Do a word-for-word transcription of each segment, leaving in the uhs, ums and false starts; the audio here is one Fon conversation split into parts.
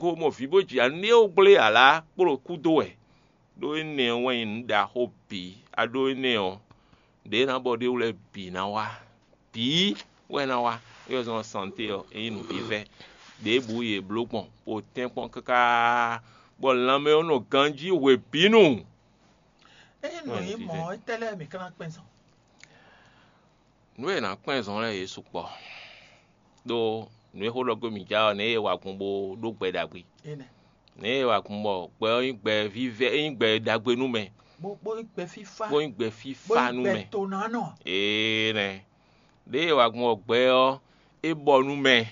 Ko mɔ vǐ bó jɛ anu é wú gblé alǎ kpló kúdó wɛ. Ɖó énɛ́ ɔ́ wɛ nyí nǔ ɖaxó bǐ. A ɖó énɛ́ ɔ́, ɖě ná bɔ ɖé wú lɛ́ɛ bǐ ná wá. Bǐ wɛ ná wá. É wɛ zɔ́n santé ɔ́, é nyí nǔvívɛ́. Ɖěbǔ yě bló gbɔn, bó tɛ́nkpɔ́n káká, bɔ lanmɛ ɔ́ nɔ ganjí hwebǐnu. Ényí nǔ nyí mɔ̌, étɛ́ lɛ́ɛ mǐ ka ná kpɛn zɔn? Nǔ e è nǎ kpɛn zɔn lɛ́ɛ yě sukpɔ́. Ɖó nǔ e xó ɖɔ gbé mǐ ja ɔ́, nɛ̌ e wa gbɔn bó ɖó gbɛ ɖagbe? Énɛ́. Nɛ̌ e wa gbɔn bɔ gbɛ ɔ́ nyí gbɛ vívɛ́, é nyí gbɛ ɖagbe nú mɛ, Bó bó nyí gbɛ fífá. Bó nyí gbɛ Bó fífá nyí nú gbɛ mɛ. Tonánɔ. Énɛ́. Nɛ̌ e wa gbɔn bɔ gbɛ ɔ́, é bɔ nú mɛ.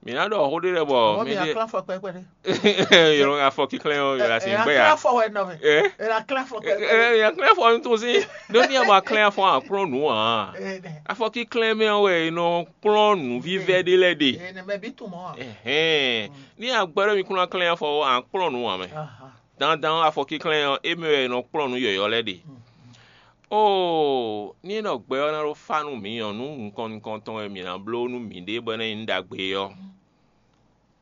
Mǐ ná ɖɔ xó ɖé lɛ́ɛ bɔ Mɔ̌ mì mɛɖé aklán fɔ kpɛkpɛ ɖé. Yɔlɔn afɔ kíklɛ́n ɔ́, yɔlɔn asi Ɛ gbɛ aklán ya. Fɔ wɛ nɔ mɛ. Ɛ? Ɛ aklán fɔ kpɛkpɛ. Ɛ, yɔlɔn klɛ́n afɔ nutun sí. Ɖó ní ama klɛ́n afɔ akplɔ́n nǔ ǎ. Ɛ nɛ. Afɔ kíklɛ́n mɛ wɛ è nɔ kplɔ́n nǔvívɛ́ ɖé lɛ́ɛ ɖe. Ɛ nɛ mɛ bí tun mɔ wa. Ɛhɛn. Ní agbɛ́ ɖɔ mi kún ná klɛ́n afɔ ɔ́, akplɔ́n nǔ ǎ mɛ. Aha. Dandan ɔ́, afɔ kíklɛ́n ɔ́, é mɛ wɛ è nɔ kplɔ́n nǔ yɔ̌yɔ́ lɛ́ɛ ɖe. Mm. Oo, ní é nɔ gbɛ ɔ́ ná ɖó fá nú mǐ ɔ́, nǔ nukɔn nukɔn tɔn e mǐ ná bló nú mǐɖée bɔ é ná nyí nǔ ɖagbe é ɔ́,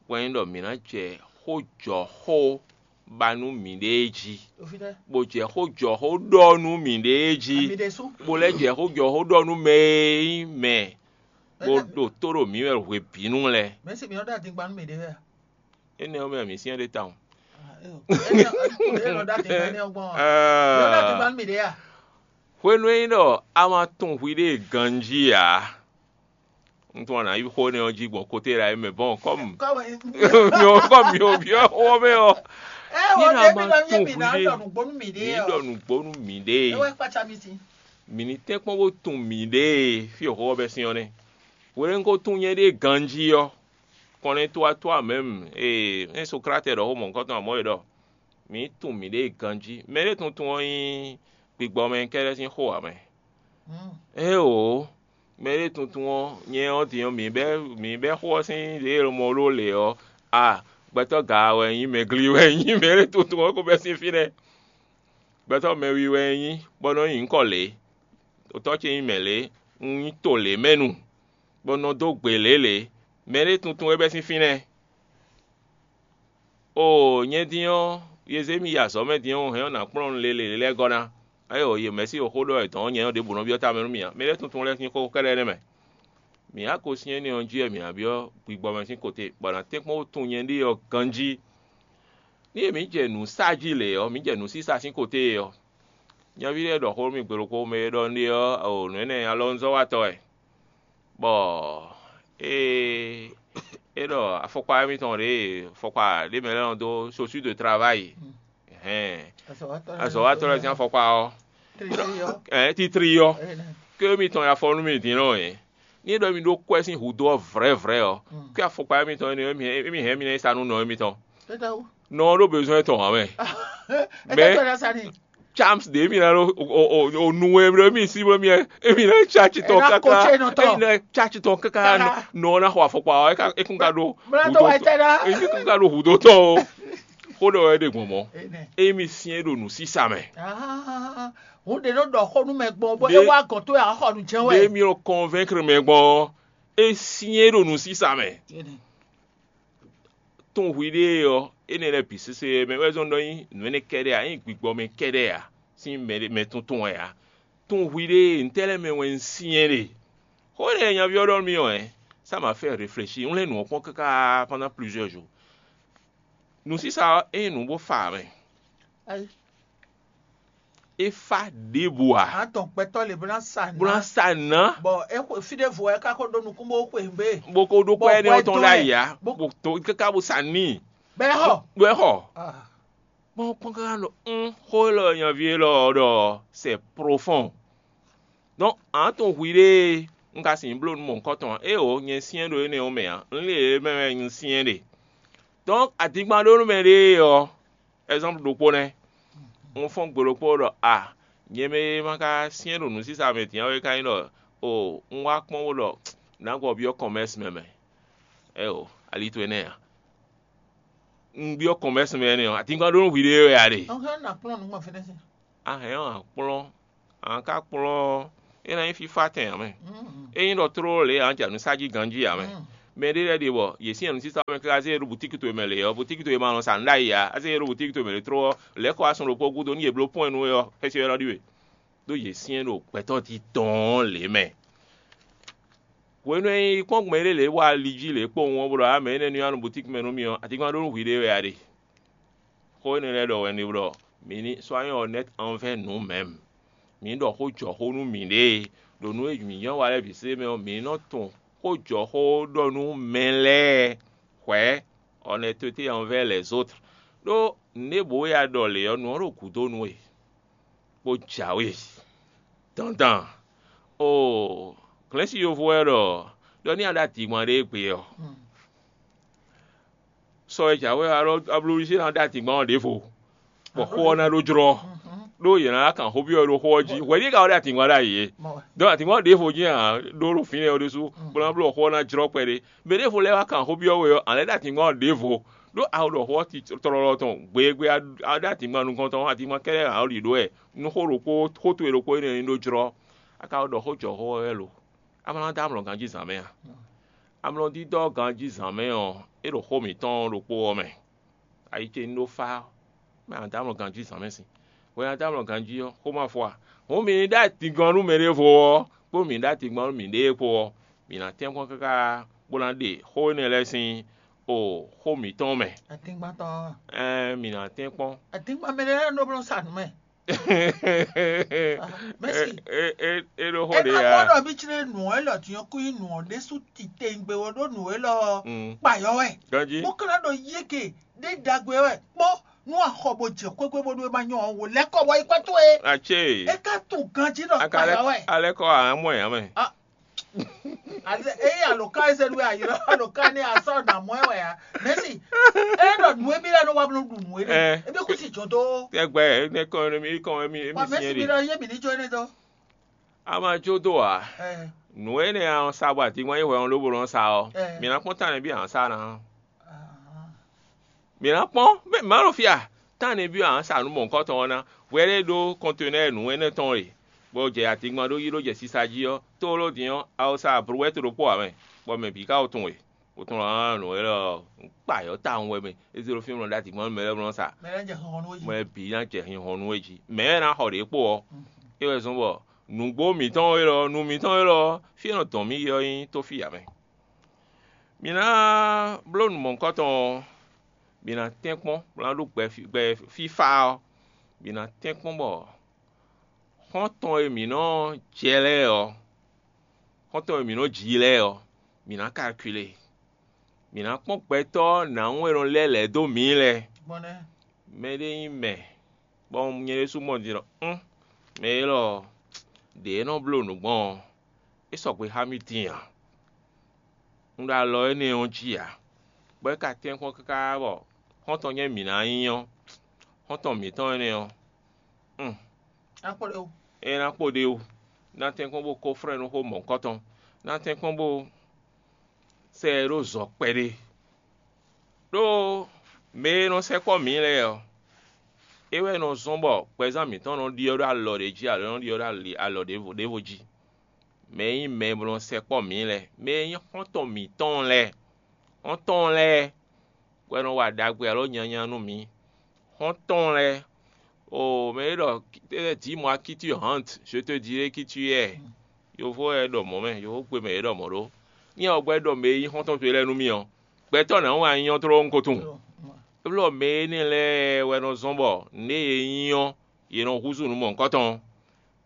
wɛ nyí ɖɔ mǐ ná jɛ xójɔxó ba nú mǐɖée jí, Ofi ɖe. Bó jɛ xójɔxó ɖɔ nú mǐɖée jí, Ami ɖe sú. Bó lɛ́ jɛ xójɔxó ɖɔ nú mɛ e nyí mɛ, bó Mɛ- ɖo tó ɖo mǐ wɛ hwebǐnu lɛ́ɛ. Mɛ si mǐ nɔ ɖo adingba nú mǐɖée wɛ a? Énɛ́ ɔ́ mɛ mǐ syɛ́n ɖé tawun. Ah, é o. Énɛ́ ɔ́, é nɔ ɖo adingba énɛ́ ɔ́ gbɔn a? Mǐ nɔ ɖo adingba nú mǐɖée a? Hwenu e nyí ɖɔ a ma tunwun hwiɖée ganjí ǎ, un tunwun a nǎ yí xó énɛ́ ɔ́ jí gbɔn kote ɖa é mɛ bɔn kɔ́mu Kɔ́mu. Myɔ kɔ́mu myɔ byɔ́ xó ɔ́ mɛ ɔ́, Ɛ ní o ɖa ɖe ma mi nɔ nyɛ mi ná hwiɖée. Ɖɔ nǔgbó nú mǐɖée Mǐ ɔ. Ɖɔ nǔgbó nú mǐɖée. É wɛ kpácá mi sin. Mǐ ní tɛ́nkpɔ́n bó tunwun mǐɖée fí e xó ɔ́ bɛ́ sín ɔ́ nɛ́. Hwenu e un ko tunwun nyɛɖée ganjí ɔ́, kɔnɛtwatwa mɛ̌m ee é Sokráte ɖɔ xó mɔ̌hunkɔtɔn amɔ̌ e ɖɔ mǐ tunwun mǐɖée ganjí. Mɛɖée tuntun ɔ́ nyí gbigbɔmɛ kɛ́ɖɛ́ sín xó ǎ mɛ. Éeǒ, mɛɖée tuntun ɔ́, nyɛ ɔ́ din ɔ́, mǐ bɛ́ mǐ bɛ́ xó ɔ́ sín ɖě e mɔ ɖó lě ɔ́, a gbɛtɔ́ gaa wɛ nyí, mɛgli wɛ nyí, mɛɖée tuntun ɔ́ ko bɛ́ sín fínɛ́. Gbɛtɔ́ mɛwi wɛ nyí, bɔ nɔ nyí nyǐkɔ lě. Otɔ́ ce nyí mɛ̌ lě, un nyí to lě mɛ nu, bɔ nɔ dó gbe lě lě. Mɛɖée tuntun wɛ bɛ́ sín fínɛ́. Oo, nyɛ din ɔ́, Yezémi yi azɔ̌ mɛ din ɔ́, hɛn ɔ́ nǎ kplɔ́n nǔ lélele lɛ́ɛ gɔ́ ná. Ayɔ, yě mɛ sí xó ɖɔ wɛ dɔ̌n nyɛ ɔ́ ɖěbǔ nɔ byɔ́ tamɛ nú mì ǎ. Mɛ lɛ́ɛ tuntun lɛ́ɛ sín xó kɛ́ɖɛ́ nɛ́ mɛ. Mǐ wá ko syɛ́n énɛ́ ɔ́ jí wɛ mǐ ná byɔ́ gbigbɔ mɛ sín kote, bɔ nǎ tɛ́nkpɔ́n wú tunwun nyɛ ɖíe ɔ́ ganjí. Ní e mǐ jɛ nǔ sa jí lě ɔ́, mǐ jɛ nǔsísa sín kote e ɔ́. Nyaví lɛ́ɛ ɖɔ xó nú mì gbe ɖokpó, mɛ e ɖɔ un ɖe ɔ́, o nǔ énɛ́ alɔnuzɔ́watɔ́ wɛ. Bɔ ée é ɖɔ afɔkpa émítɔn ɖě, afɔkpa ɖě mɛ lɛ́ɛ nɔ dó, chaussure de travail, hɛn, azɔ̌watɔ́ lɛ́ɛ sín afɔkpa ɔ́, ɛ titri ɔ́, ké émítɔn ya fɔ nú mì din nɔ é. Ní é ɖɔ mi ɖó kwɛ́ sín hǔdó ɔ́ vrɛ̌vrɛ̌ ɔ́, ké afɔkpa émítɔn énɛ́ ɔ́, émí hɛn mì ná yi sa nú nɔ émítɔn. Nɔ ɔ́ ɖó bezɔn tɔn ǎ mɛ. Mɛ Charms ɖě mì ná ɖo o nu e ɖo mì sí bó mì ɛ, émì ná tsa tsi tɔn káká, émì ná tsa tsi tɔn káká, nɔ ɔ́ ná xɔ afɔkpa ɔ́, é kún ka ɖó hǔdó tɔn, émì kún ka ɖó hǔdó tɔn o. Xó ɖɔ wɛ ɖe gbɔn mɔ̌, émì syɛ́n ɖo nǔsísa mɛ. Hǔn ɖě nɔ ɖɔ xó nú mɛ gbɔn bɔ é wá gɔ̌n tó yà xɔ nǔ jɛ́n wɛ. Ɖě mì nɔ kɔnvɛnkr mɛ gbɔn ɔ́, é syɛ́n ɖo nǔsísa mɛ. Tunwun hwiɖée ɔ́, énɛ́ lɛ́ɛ bǐ sésé mɛ wɛ zɔ́n ɖɔ nyí nǔ énɛ́ kɛ́ɖɛ́ ǎ, nyí gbigbɔ mɛ kɛ́ɖɛ́ ǎ, sín mɛ mɛ tuntun wɛ ǎ. Tunwun hwiɖée ntɛ́ lɛ́ɛ mɛ wɛ un syɛ́n ɖe? Xó énɛ́ e nyaví ɔ́ ɖɔ nú mì ɔ́, ça m'a fait réfléchir, un lɛ́ nǔ ɔ́ kpɔ́n káká pendant plusieurs jours. Nǔsísa ɔ́, é nyí nǔ bó fa ǎ mɛ. É fá ɖěbǔ ǎ. Ǎ tɔn gbɛtɔ́ lě bó ná sa nǔ. Bó ná sa nǔ ná. Bɔ é xwe fí ɖěvo wɛ é ka ko ɖó nukún bó xwe nǔgbé. Bó ko ɖó kpɛ́ énɛ́ ɔ́ tɔn ɖ'ayǐ ǎ. Bó tó káká bó sa n'i. Bɔ é xɔ. Bɔ é xɔ. Kpɔ́n kpɔ́n káká ɖɔ un xó élɔ́ nyaví élɔ́ ɔ́ ɖɔ c'est profond. Donc ǎ tɔn hwiɖée un ka sin bló nú mɔ̌hunkɔtɔn ǎ. Éeǒ, nyɛ syɛ́n ɖo énɛ́ ɔ́ mɛ ǎ. Un lé yě mɛ wɛ un syɛ́n ɖe. Donc adingban ɖó nú mɛ ɖée ɔ́, Ɛzanpu ɖokpó nɛ́. Un fɔ́n gbe ɖokpó ɖɔ a, nyɛ mɛ e ma ka syɛ́n ɖo nǔsísa mɛ din ɔ́ é ka nyí ɖɔ o un wá kpɔ́n bó ɖɔ nǎ gbɔ byɔ́ kɔmɛ́si mɛ mɛ. Ɛ́ o, ali towe nɛ́ ǎ. Un byɔ́ kɔmɛ́si mɛ énɛ́ ɔ́, atingban ɖó nú hwiɖée wɛ a ɖe? Ɔ́ hɛn ɔ́ nǎ kplɔ́n nǔ gbɔn fínɛ́ sín. A hɛn ɔ́ a kplɔ́n, a ka kplɔ́n ɔ́, é ná nyí fífá tɛn ǎ mɛ. É nyí ɖɔ tlóló lě a jɛ nǔ sa jí ganjí ǎ mɛ. Mɛ ɖé lɛ́ɛ ɖe bɔ yě sín ɛnúsísá mɛ káká zé yě ɖo butíki towe mɛ lě ɔ́, butíki towe ma nɔ sa nǔ ɖ'ayǐ ǎ, é zé yě ɖo butíki towe mɛ lě tró ɔ́, lɛ̌ kɔ wá sun ɖokpó gúdo nú yě bló pɔ́n ɛnú é ɔ́, xɛsi ɔ́ nɔ ɖi we. Ɖó yě syɛ́n ɖo gbɛtɔ́ titɔn lě mɛ. Hwenu e un yi kpɔ́n gbɔn éɖée lě bɔ ali jí lě kpowun ɔ́, bó ɖɔ ǎ mɛ énɛ́ ní wá nú butíki mɛ nú mì ɔ́, atínkpán ɖó nú hwi ɖé wɛ a ɖe. Xó énɛ́ lɛ́ɛ ɖɔ wɛ un ɖe ɖɔ mǐ ní soyons honnêtes envers nous-mêmes. Mǐ ní ɖɔ xó jɔxó nú mǐɖée, ɖo nǔ e mǐ nyɔ́ wa lɛ́ɛ bǐ sésé mɛ ɔ́, mǐ ní nɔ tunwun xó jɔxó ɖɔ nú mɛ lɛ́ɛ hwɛ̌, honnêteté envers les autres. Ɖó nǔɖébǔ e a ɖɔ lě ɔ́, nǔ ɔ́ ɖo gǔdo nú we, bó jǎwe dandan. Oo, glɛ̌nsi yovo wɛ ɖɔ ɖɔ ní a ɖo adǐngban ɖé gbe ɔ́, sɔ e jǎwe ɔ́, alɔ ablúɖisí ná ɖo adǐngban ɔ́ ɖěvo, bɔ xó ɔ́ ná ɖó jlɔ́, ɖó yě ná kan xó byɔ́ ɖo xó ɔ́ jí. Hwɛ̌ ɖíe ka wɛ ɖo adǐngban ɖ'ayǐ é? Dɔn adǐngban ɖěvo jí a ɖó ɖo fínɛ́ ɔ́ ɖésú, bó ná bló xó ɔ́ ná jlɔ́ kpɛɖé. Mɛ ɖěvo lɛ́ɛ wá kan xó byɔ́ we ɔ́, a lɛ́ ɖo adǐngban ɔ́ ɖěvo, ɖó a ɖɔ xó ɔ́ tlɔlɔ tɔn gbe e gbe a ɖo adǐngban nukɔn tɔn ɔ́, adǐngban kɛ́ɖɛ́ ǎ ɖi ɖó wɛ. Nú xó ɖokpó xó towe ɖokpó énɛ́ ní ɖó jlɔ́, a ka ɖɔ xó jɔxó ɔ́ wɛ lo? A ma ná dó amlɔ ganjí zǎn mɛ a? Amlɔdídɔ́ ganjí zǎn mɛ ɔ́, é ɖo xó mǐtɔn ɖokpó ɔ́ mɛ. Ayi ce ní ɖó fá ɔ́, mɛ a dó amlɔ ganjí zǎn mɛ sin. Hwɛ a dó amlɔ ganjí ɔ́, xó ma fɔ a? Hǔn mi ní ɖó atingɔn nú mɛɖěvo ɔ́, kpó mi ní ɖó atingɔn nú miɖée kpó ɔ́, mǐ ná tɛ́nkpɔ́n káká bó ná ɖe xó énɛ́ lɛ́ɛ sín o xó mǐtɔn mɛ. Atingban tɔn ɔ́. Ɛɛ, mǐ ná tɛ́nkpɔ́n. Atingban mɛ lɛ́ɛ nɔ bló sa nǔ mɛ. Mɛsi. É é é ɖó xó ɖé Ena ya. Mɔɖɔ mi tsre nǔ élɔ́ din ɔ́ kú nyí nǔ ɔ́ ɖésú titewungbe ɔ́ ɖó nǔ élɔ́ Mm. Kpayɔ wɛ. Ganjí. Bó ka ná ɖo yége ɖé ɖagbe wɛ kpɔ́ nú axɔ bó jɛ xwéxwé bó ɖó é ma nyɔ ɔ́ wò lɛ́ kɔ wɔ yi kpɛ́ towe. Atsé. É ka tunwun ganjí ɖɔ Aka kpayɔ wɛ. Alɛ kɔ amɔ yà mɛ. Ah. Eye aloka eze nú ayɔ aloka ní asɔ nà mɔ ɛ wɛ ya. Mɛsi. Eye nɔ nù ebi lɛ nɔ wa bló ɖu nù ebi. Ɛ. Ebi kú si jɔ dó. Tɛgbɛ ne kɔ ne mi kɔ mi mi Wa mɛsi siɲɛ mi de. Nɔ yé mi ní jó ne dó. A ma jó dó a? Ɛ. Nǔ énɛ́ a sa bɔ atínkpɔ́n yi hwɛ ɔ́ lóbo nɔ sa ɔ́. Ɛ. Mi ná kpɔ́n tánɛ bí a sa ná. Ah. Mǐ ná kpɔ́n, mɛ mǎ ɖo fí a? Tánìbí ɔ́, a nǎ sa nǔ mɔ̌hunkɔtɔn ɔ́ ná, hwɛ ɖé ɖó kɔntenɛ́ɛ nǔ énɛ́ tɔn e, bó jɛ atingban ɖó yí ɖó jɛ sisa jí ɔ́, tlóló din ɔ́, a ko sa abluwɛ́tu ɖokpó ǎ mɛ, bɔ mɛ bǐ ka ko tunwun e. Bó tunwun ɔ́, nǔ élɔ́ ɔ́, un kpa yɔ̌ tawun wɛ mɛ, é zé ɖó fí mɔ ɖó atingban nú mɛ lɛ́ɛ nɔ sa. Mɛ lɛ́ɛ jɛ xixɔnú we jí. Mɛ bǐ ná jɛ xixɔnú we jí. Mɛ ɔ́ ná xɔ ɖě kpó ɔ́, é wɛ zɔ́n bɔ nǔgbó mǐtɔn élɔ́, nú mǐtɔn élɔ́, fí e nɔ dɔn mǐ yi ɔ́ nyí tófí ǎ mɛ. Mǐ ná bló nǔ mɔ̌hunkɔtɔn ɔ́, mǐ ná tɛ́nkpɔ́n, bó ná ɖó gbɛ fí- gbɛ fífá ɔ́, mǐ ná tɛ́nkpɔ́n bɔ xɔ́ntɔn e mǐ nɔ jɛ lɛ́ɛ ɔ́, xɔ́ntɔn e mǐ nɔ ji lɛ́ɛ ɔ́, mǐ ná kalkule. Mǐ ná kpɔ́n gbɛtɔ́ nǎwún e nɔ lɛ́ lɛ̌ dó mǐ lɛ́ɛ. Gbɔn nɛ́. Mɛ ɖé nyí mɛ, bɔ nyɛ ɖésú mɔ din ɖɔ, ún, mɛ élɔ́ ɔ́, ɖě e nɔ bló nǔ gbɔn ɔ́, é sɔgbe xá mì din ǎ. Un ɖo alɔ énɛ́ ɔ́ jí ǎ, bɔ é ka tɛ́nkpɔ́n káká bɔ xɔ́ntɔn nyɛ mǐ ná nyí ɔ́, xɔ́ntɔn mǐtɔn énɛ́ ɔ́, ún, Akpɔ́ɖewo. É ná kpo ɖe ó, ná tɛ́nkpɔ́n bó kó flɛ́n nú xó mɔ̌hunkɔtɔn, ná tɛ́nkpɔ́n bó sɛ ɛ ɖó zɔ kpɛɖé. Ɖó mɛ e nɔ sɛkpɔ́ mǐ lɛ́ɛ ɔ́, é wɛ nɔ zɔ́n bɔ gbɛzán mǐtɔn nɔ ɖyɔ́ ɖó alɔ ɖé jí alo é nɔ ɖyɔ́ ɖó ali- alɔ ɖěvo ɖěvo jí. Mɛ e nyí mɛ e nɔ sɛkpɔ́ mǐ lɛ́ɛ, mɛ e nyí xɔ́ntɔn mǐtɔn lɛ́ɛ, xɔ́ntɔn lɛ́ɛ wɛ nɔ wa ɖagbe alo nyanya nú mǐ. Xɔ́ntɔn lɛ́ɛ, o mɛ e ɖɔ dis-moi qui tu hantes, je te dirai qui tu es. Yovo wɛ ɖɔ mɔ̌ mɛ, yovo gbe mɛ e ɖɔ mɔ̌ ɖó. Nyɛ ɔ́ gbɛ́ ɖɔ mɛ e nyí xɔ́ntɔn towe lɛ́ɛ nú mì ɔ́, gbɛtɔ́ nǎ wá nyí ɔ́ tlóló kó tunwun. Élɔ́ mɛ énɛ́ lɛ́ɛ wɛ nɔ zɔ́n bɔ nǔɖé e nyí ɔ́, yě nɔ húzú nǔ mɔ̌hunkɔtɔn.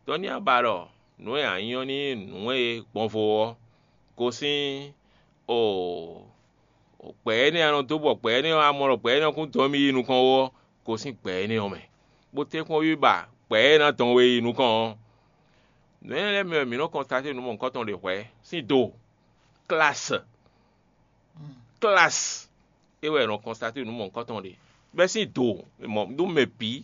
Dɔn ní a ba ɖɔ nǔ e a nyí ɔ́ ní nyí nǔ e gbɔnvo ɔ́, gosín o gbɛ̌ énɛ́ a nɔ dó bɔ gbɛ̌ énɛ́ ɔ́ a mɔ ɖɔ gbɛ̌ énɛ́ ɔ́ kún dɔn mì yi nukɔn ó ɔ́, gosín gbɛ̌ énɛ́ ɔ́ mɛ, bó tɛ́nkpɔ́n wí ba gbɛ̌ e ná dɔn we yi nukɔn ɔ́. Nǔ énɛ́ lɛ́ɛ mɛ wɛ mǐ nɔ kɔnstaté nǔ mɔ̌hunkɔtɔn ɖě hwɛ̌ sín do, klásɛ. Klásɛ é wɛ è nɔ kɔnstaté nǔ mɔ̌hunkɔtɔn ɖě. Bɛ́ sín do mɔ ɖó mɛ bǐ,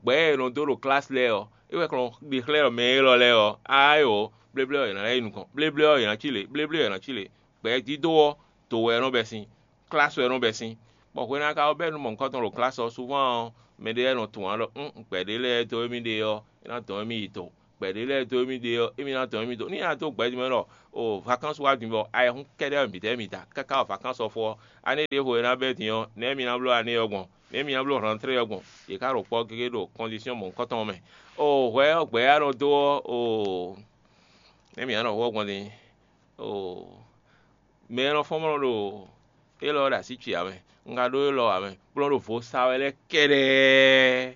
gbɛ̌ e è nɔ dó ɖo klásɛ lɛ́ɛ ɔ́, é wɛ è nɔ ɖe xlɛ́ mɛ élɔ́ lɛ́ɛ ɔ́, áyǒ, bléblé ɔ́ è nǎ lɛ́ yi nukɔn, bléblé ɔ́ è nǎ cí lě, bléblé ɔ́ è nǎ cí lě. Gbɛ̌ dídó ɔ́, do wɛ è nɔ bɛ́ sín, klásɛ wɛ è nɔ bɛ́ sín. Bɔ hwenu e a ka wá bɛ́ nǔ mɔ̌hunkɔtɔn ɖo klásɛ ɔ́, súván ɔ́, mɛɖé lɛ́ɛ nɔ tunwun ǎ ɖɔ ún gbɛ̌ ɖé lɛ́ɛ dó émí ɖe ɔ́, é ná dɔn émí yi do. gbɛ̌ ɖé lɛ́ɛ dó émí ɖe ɔ́, émí ná dɔn émí dó. Nú nyi ná dó gbɛ̌ din mɛ ɖɔ o vakansi wá din bɔ ayɛhún kɛ́ɖɛ́ wɛ mǐdɛɛ mi da káká wɔ vakansi ɔ́ fó ɔ́, ané ɖěvo e ná bɛ́ din ɔ́, nɛ̌ mi ná bló ané ɔ́ gbɔn? Nɛ̌ mi ná bló hlɔ̌ntrɛ́ ɔ́ gbɔn? Yě ká ɖo kpɔ́ gégé ɖo kɔndisiyɔn mɔ̌hunkɔtɔn ɔ́ mɛ. O hwɛ ɔ́, gbɛ̌ ya nɔ dó ɔ́, o nɛ̌ mi ná nɔ hú ɔ́ gbɔn din? O mɛ e nɔ fɔ́n mɔ ɖo élɔ́ ɔ́ ɖo así ce ǎ mɛ. Un ka ɖó élɔ́ ǎ mɛ, bó nɔ́ ɖo vo sa wɛ lɛ́ɛ kɛ́ɖɛ́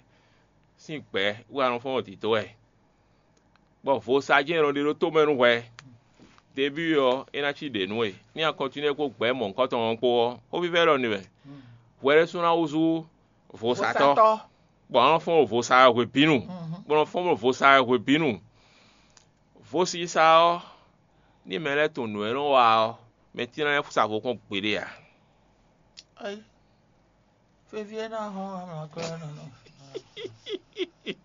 sín gbɛ̌ wú anɔfɔ́n ɔ́ dǐdó wɛ. Bɔ vo sa jɛ́n è nɔ ɖe ɖó tomɛ nú hwɛ. Debíi ɔ́, é ná cí ɖě nú we. Ní a kɔntinué kpó gbɛ̌ mɔ̌hunkɔtɔn ɔ́ kpó ɔ́, xó vívɛ́ ɖɔ n'i wɛ. Hwɛ ɖésú ná húzú vosatɔ́, bɔ a nɔ fɔ́n ɖo vosa wɛ hwebǐnu, bó nɔ́ fɔ́n ɖo vosa wɛ hwebǐnu. Vosisa ɔ́, ní mɛ lɛ́ɛ tunwun nǔ e nɔ wa ɔ́, mɛ tín ná lɛ́ɛ sa vo kpɔ́n gbeɖé ǎ. Ayi, feví e ná hɔn amlɔkɔ ɔ́ nɔ nɔ.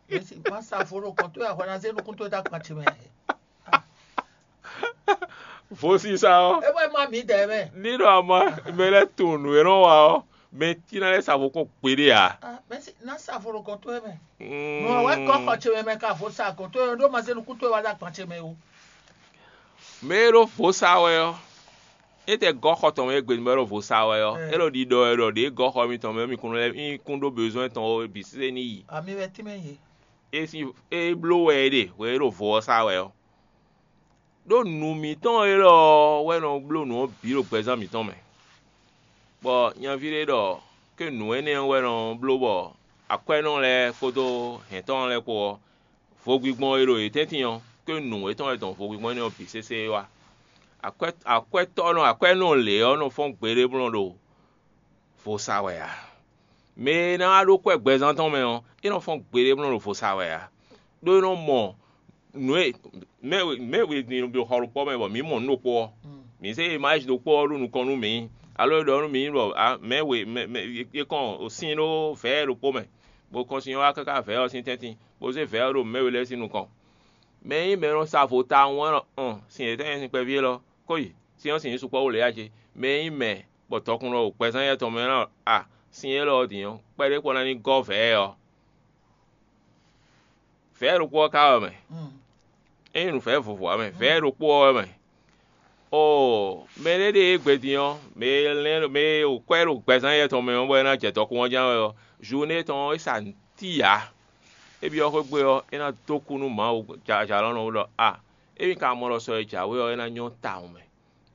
Mɛsi má sa vo ɖo kɔn tó ahwan ná zé nukún tó dá kpan ce mɛ. Vosisa ɔ́, É wɛ má mǐdɛɛ mɛ. Ní ɖɔ ama mɛ lɛ́ɛ tunwun nǔ e nɔ wa ɔ́, mɛ tín ná lɛ́ɛ sa vo kpɔ́n gbeɖé ǎ. Ah, mɛsi ná sa vo ɖo kɔn tó mɛ. Nɔ wɛ kɔ xɔ ce mɛ mɛ ka vo sa kɔn tó ɖó ma zé nukún tó wá dá kpan ce mɛ o. Mɛ e ɖo vo sa wɛ ɔ́, é tɛ gɔ́ xɔ tɔn mɛ e gbe bɔ é ɖo vo sa wɛ ɔ́, é ɖo ɖiɖɔ wɛ ɖɔ ɖě gɔ́ xɔ mitɔn mɛ mi kún lɛ́ mi kún ɖó bezɔn tɔn ó bǐ sésé ní yi. Ami wɛ tínmɛ yě. É sín é bló wɛ é ɖe hwɛ é ɖo vo ɔ́ sa wɛ ɔ́. Ɖó nǔ mǐtɔn élɔ́ ɔ́ wɛ nɔ bló nǔ ɔ́ bǐ ɖo gbɛzán mǐtɔn mɛ. Bɔ nyaví ɖé ɖɔ ké nǔ énɛ́ ɔ́ wɛ nɔ bló bɔ akwɛ́nɔ lɛ́ɛ kpódó hɛ̌ntɔ́ lɛ́ɛ kpó ɔ́, vodígbɔ́n e ɖo yě tɛ́ntin ɔ́, ké nǔ étɔn wɛ dɔn vodígbɔ́n énɛ́ ɔ́ bǐ sésé wá. Akwɛ́ akwɛ́tɔ́ nɔ akwɛ́nɔ lě ɔ́ nɔ fɔ́n gbeɖé blɔ́n ɖo vo sa wɛ ǎ. Mɛ e ná wá ɖó kwɛ́ gbɛzán tɔn mɛ ɔ́, é nɔ fɔ́n gbeɖé blɔ́n ɖo vo sa wɛ ǎ. Ɖó é nɔ mɔ nǔ e mɛ e mɛ e din ɖo xɔ ɖokpɔ́ mɛ bɔ mǐ mɔ nǔ ɖokpó ɔ́, mǐ zé imázi ɖokpó ɔ́ ɖo nukɔn nú mǐ, alo é ɖɔ nú mǐ ɖɔ mɛ e mɛ e kɔn sin ɖó vɛ̌ ɖokpó mɛ, bó kɔn sin ɔ́ wá káká vɛ̌ ɔ́ sín tɛ́ntin, bó zé vɛ̌ ɔ́ ɖo mɛ we lɛ́ɛ sín nukɔn. Mɛ e nyí mɛ e nɔ sa vo tawun ɔ́ nɔ sin yětɔn nyí sin kpɛví élɔ́, kó yi, sin ɔ́ sin nyí sukpɔ́ wú lě a ce? Mɛ e nyí mɛ bɔ dɔkunnɔ ɖo gbɛzán yɛ́ tɔn mɛ ɔ́, a sin élɔ́ ɔ́ din ɔ́, kpɛɖé kpɔ́ ná ní gɔ́ vɛ̌ ɔ́. Vɛ̌ ɖokpó ɔ́ ka wɛ mɛ. É nyí nǔvɛ́ vovo ǎ mɛ, vɛ̌ ɖokpó ɔ́ wɛ mɛ. Oo, mɛ ɖé ɖe e gbe din ɔ́, mɛ e lɛ́n mɛ e ɖo kwɛ́ ɖo gbɛzán yɛ́ tɔn mɛ ɔ́, bɔ é ná jɛ dɔkun ɔ́ ján wɛ ɔ́, zǔné tɔn ɔ́, é sa nǔ tíi ǎ. É byɔ́ xwé gbe ɔ́, é ná dó kú nú Mawu jalɔ̌nlɔn ɖɔ a, émí ka mɔ ɖɔ sɔ e jǎwe ɔ́, é ná nyɔ́ tawun mɛ,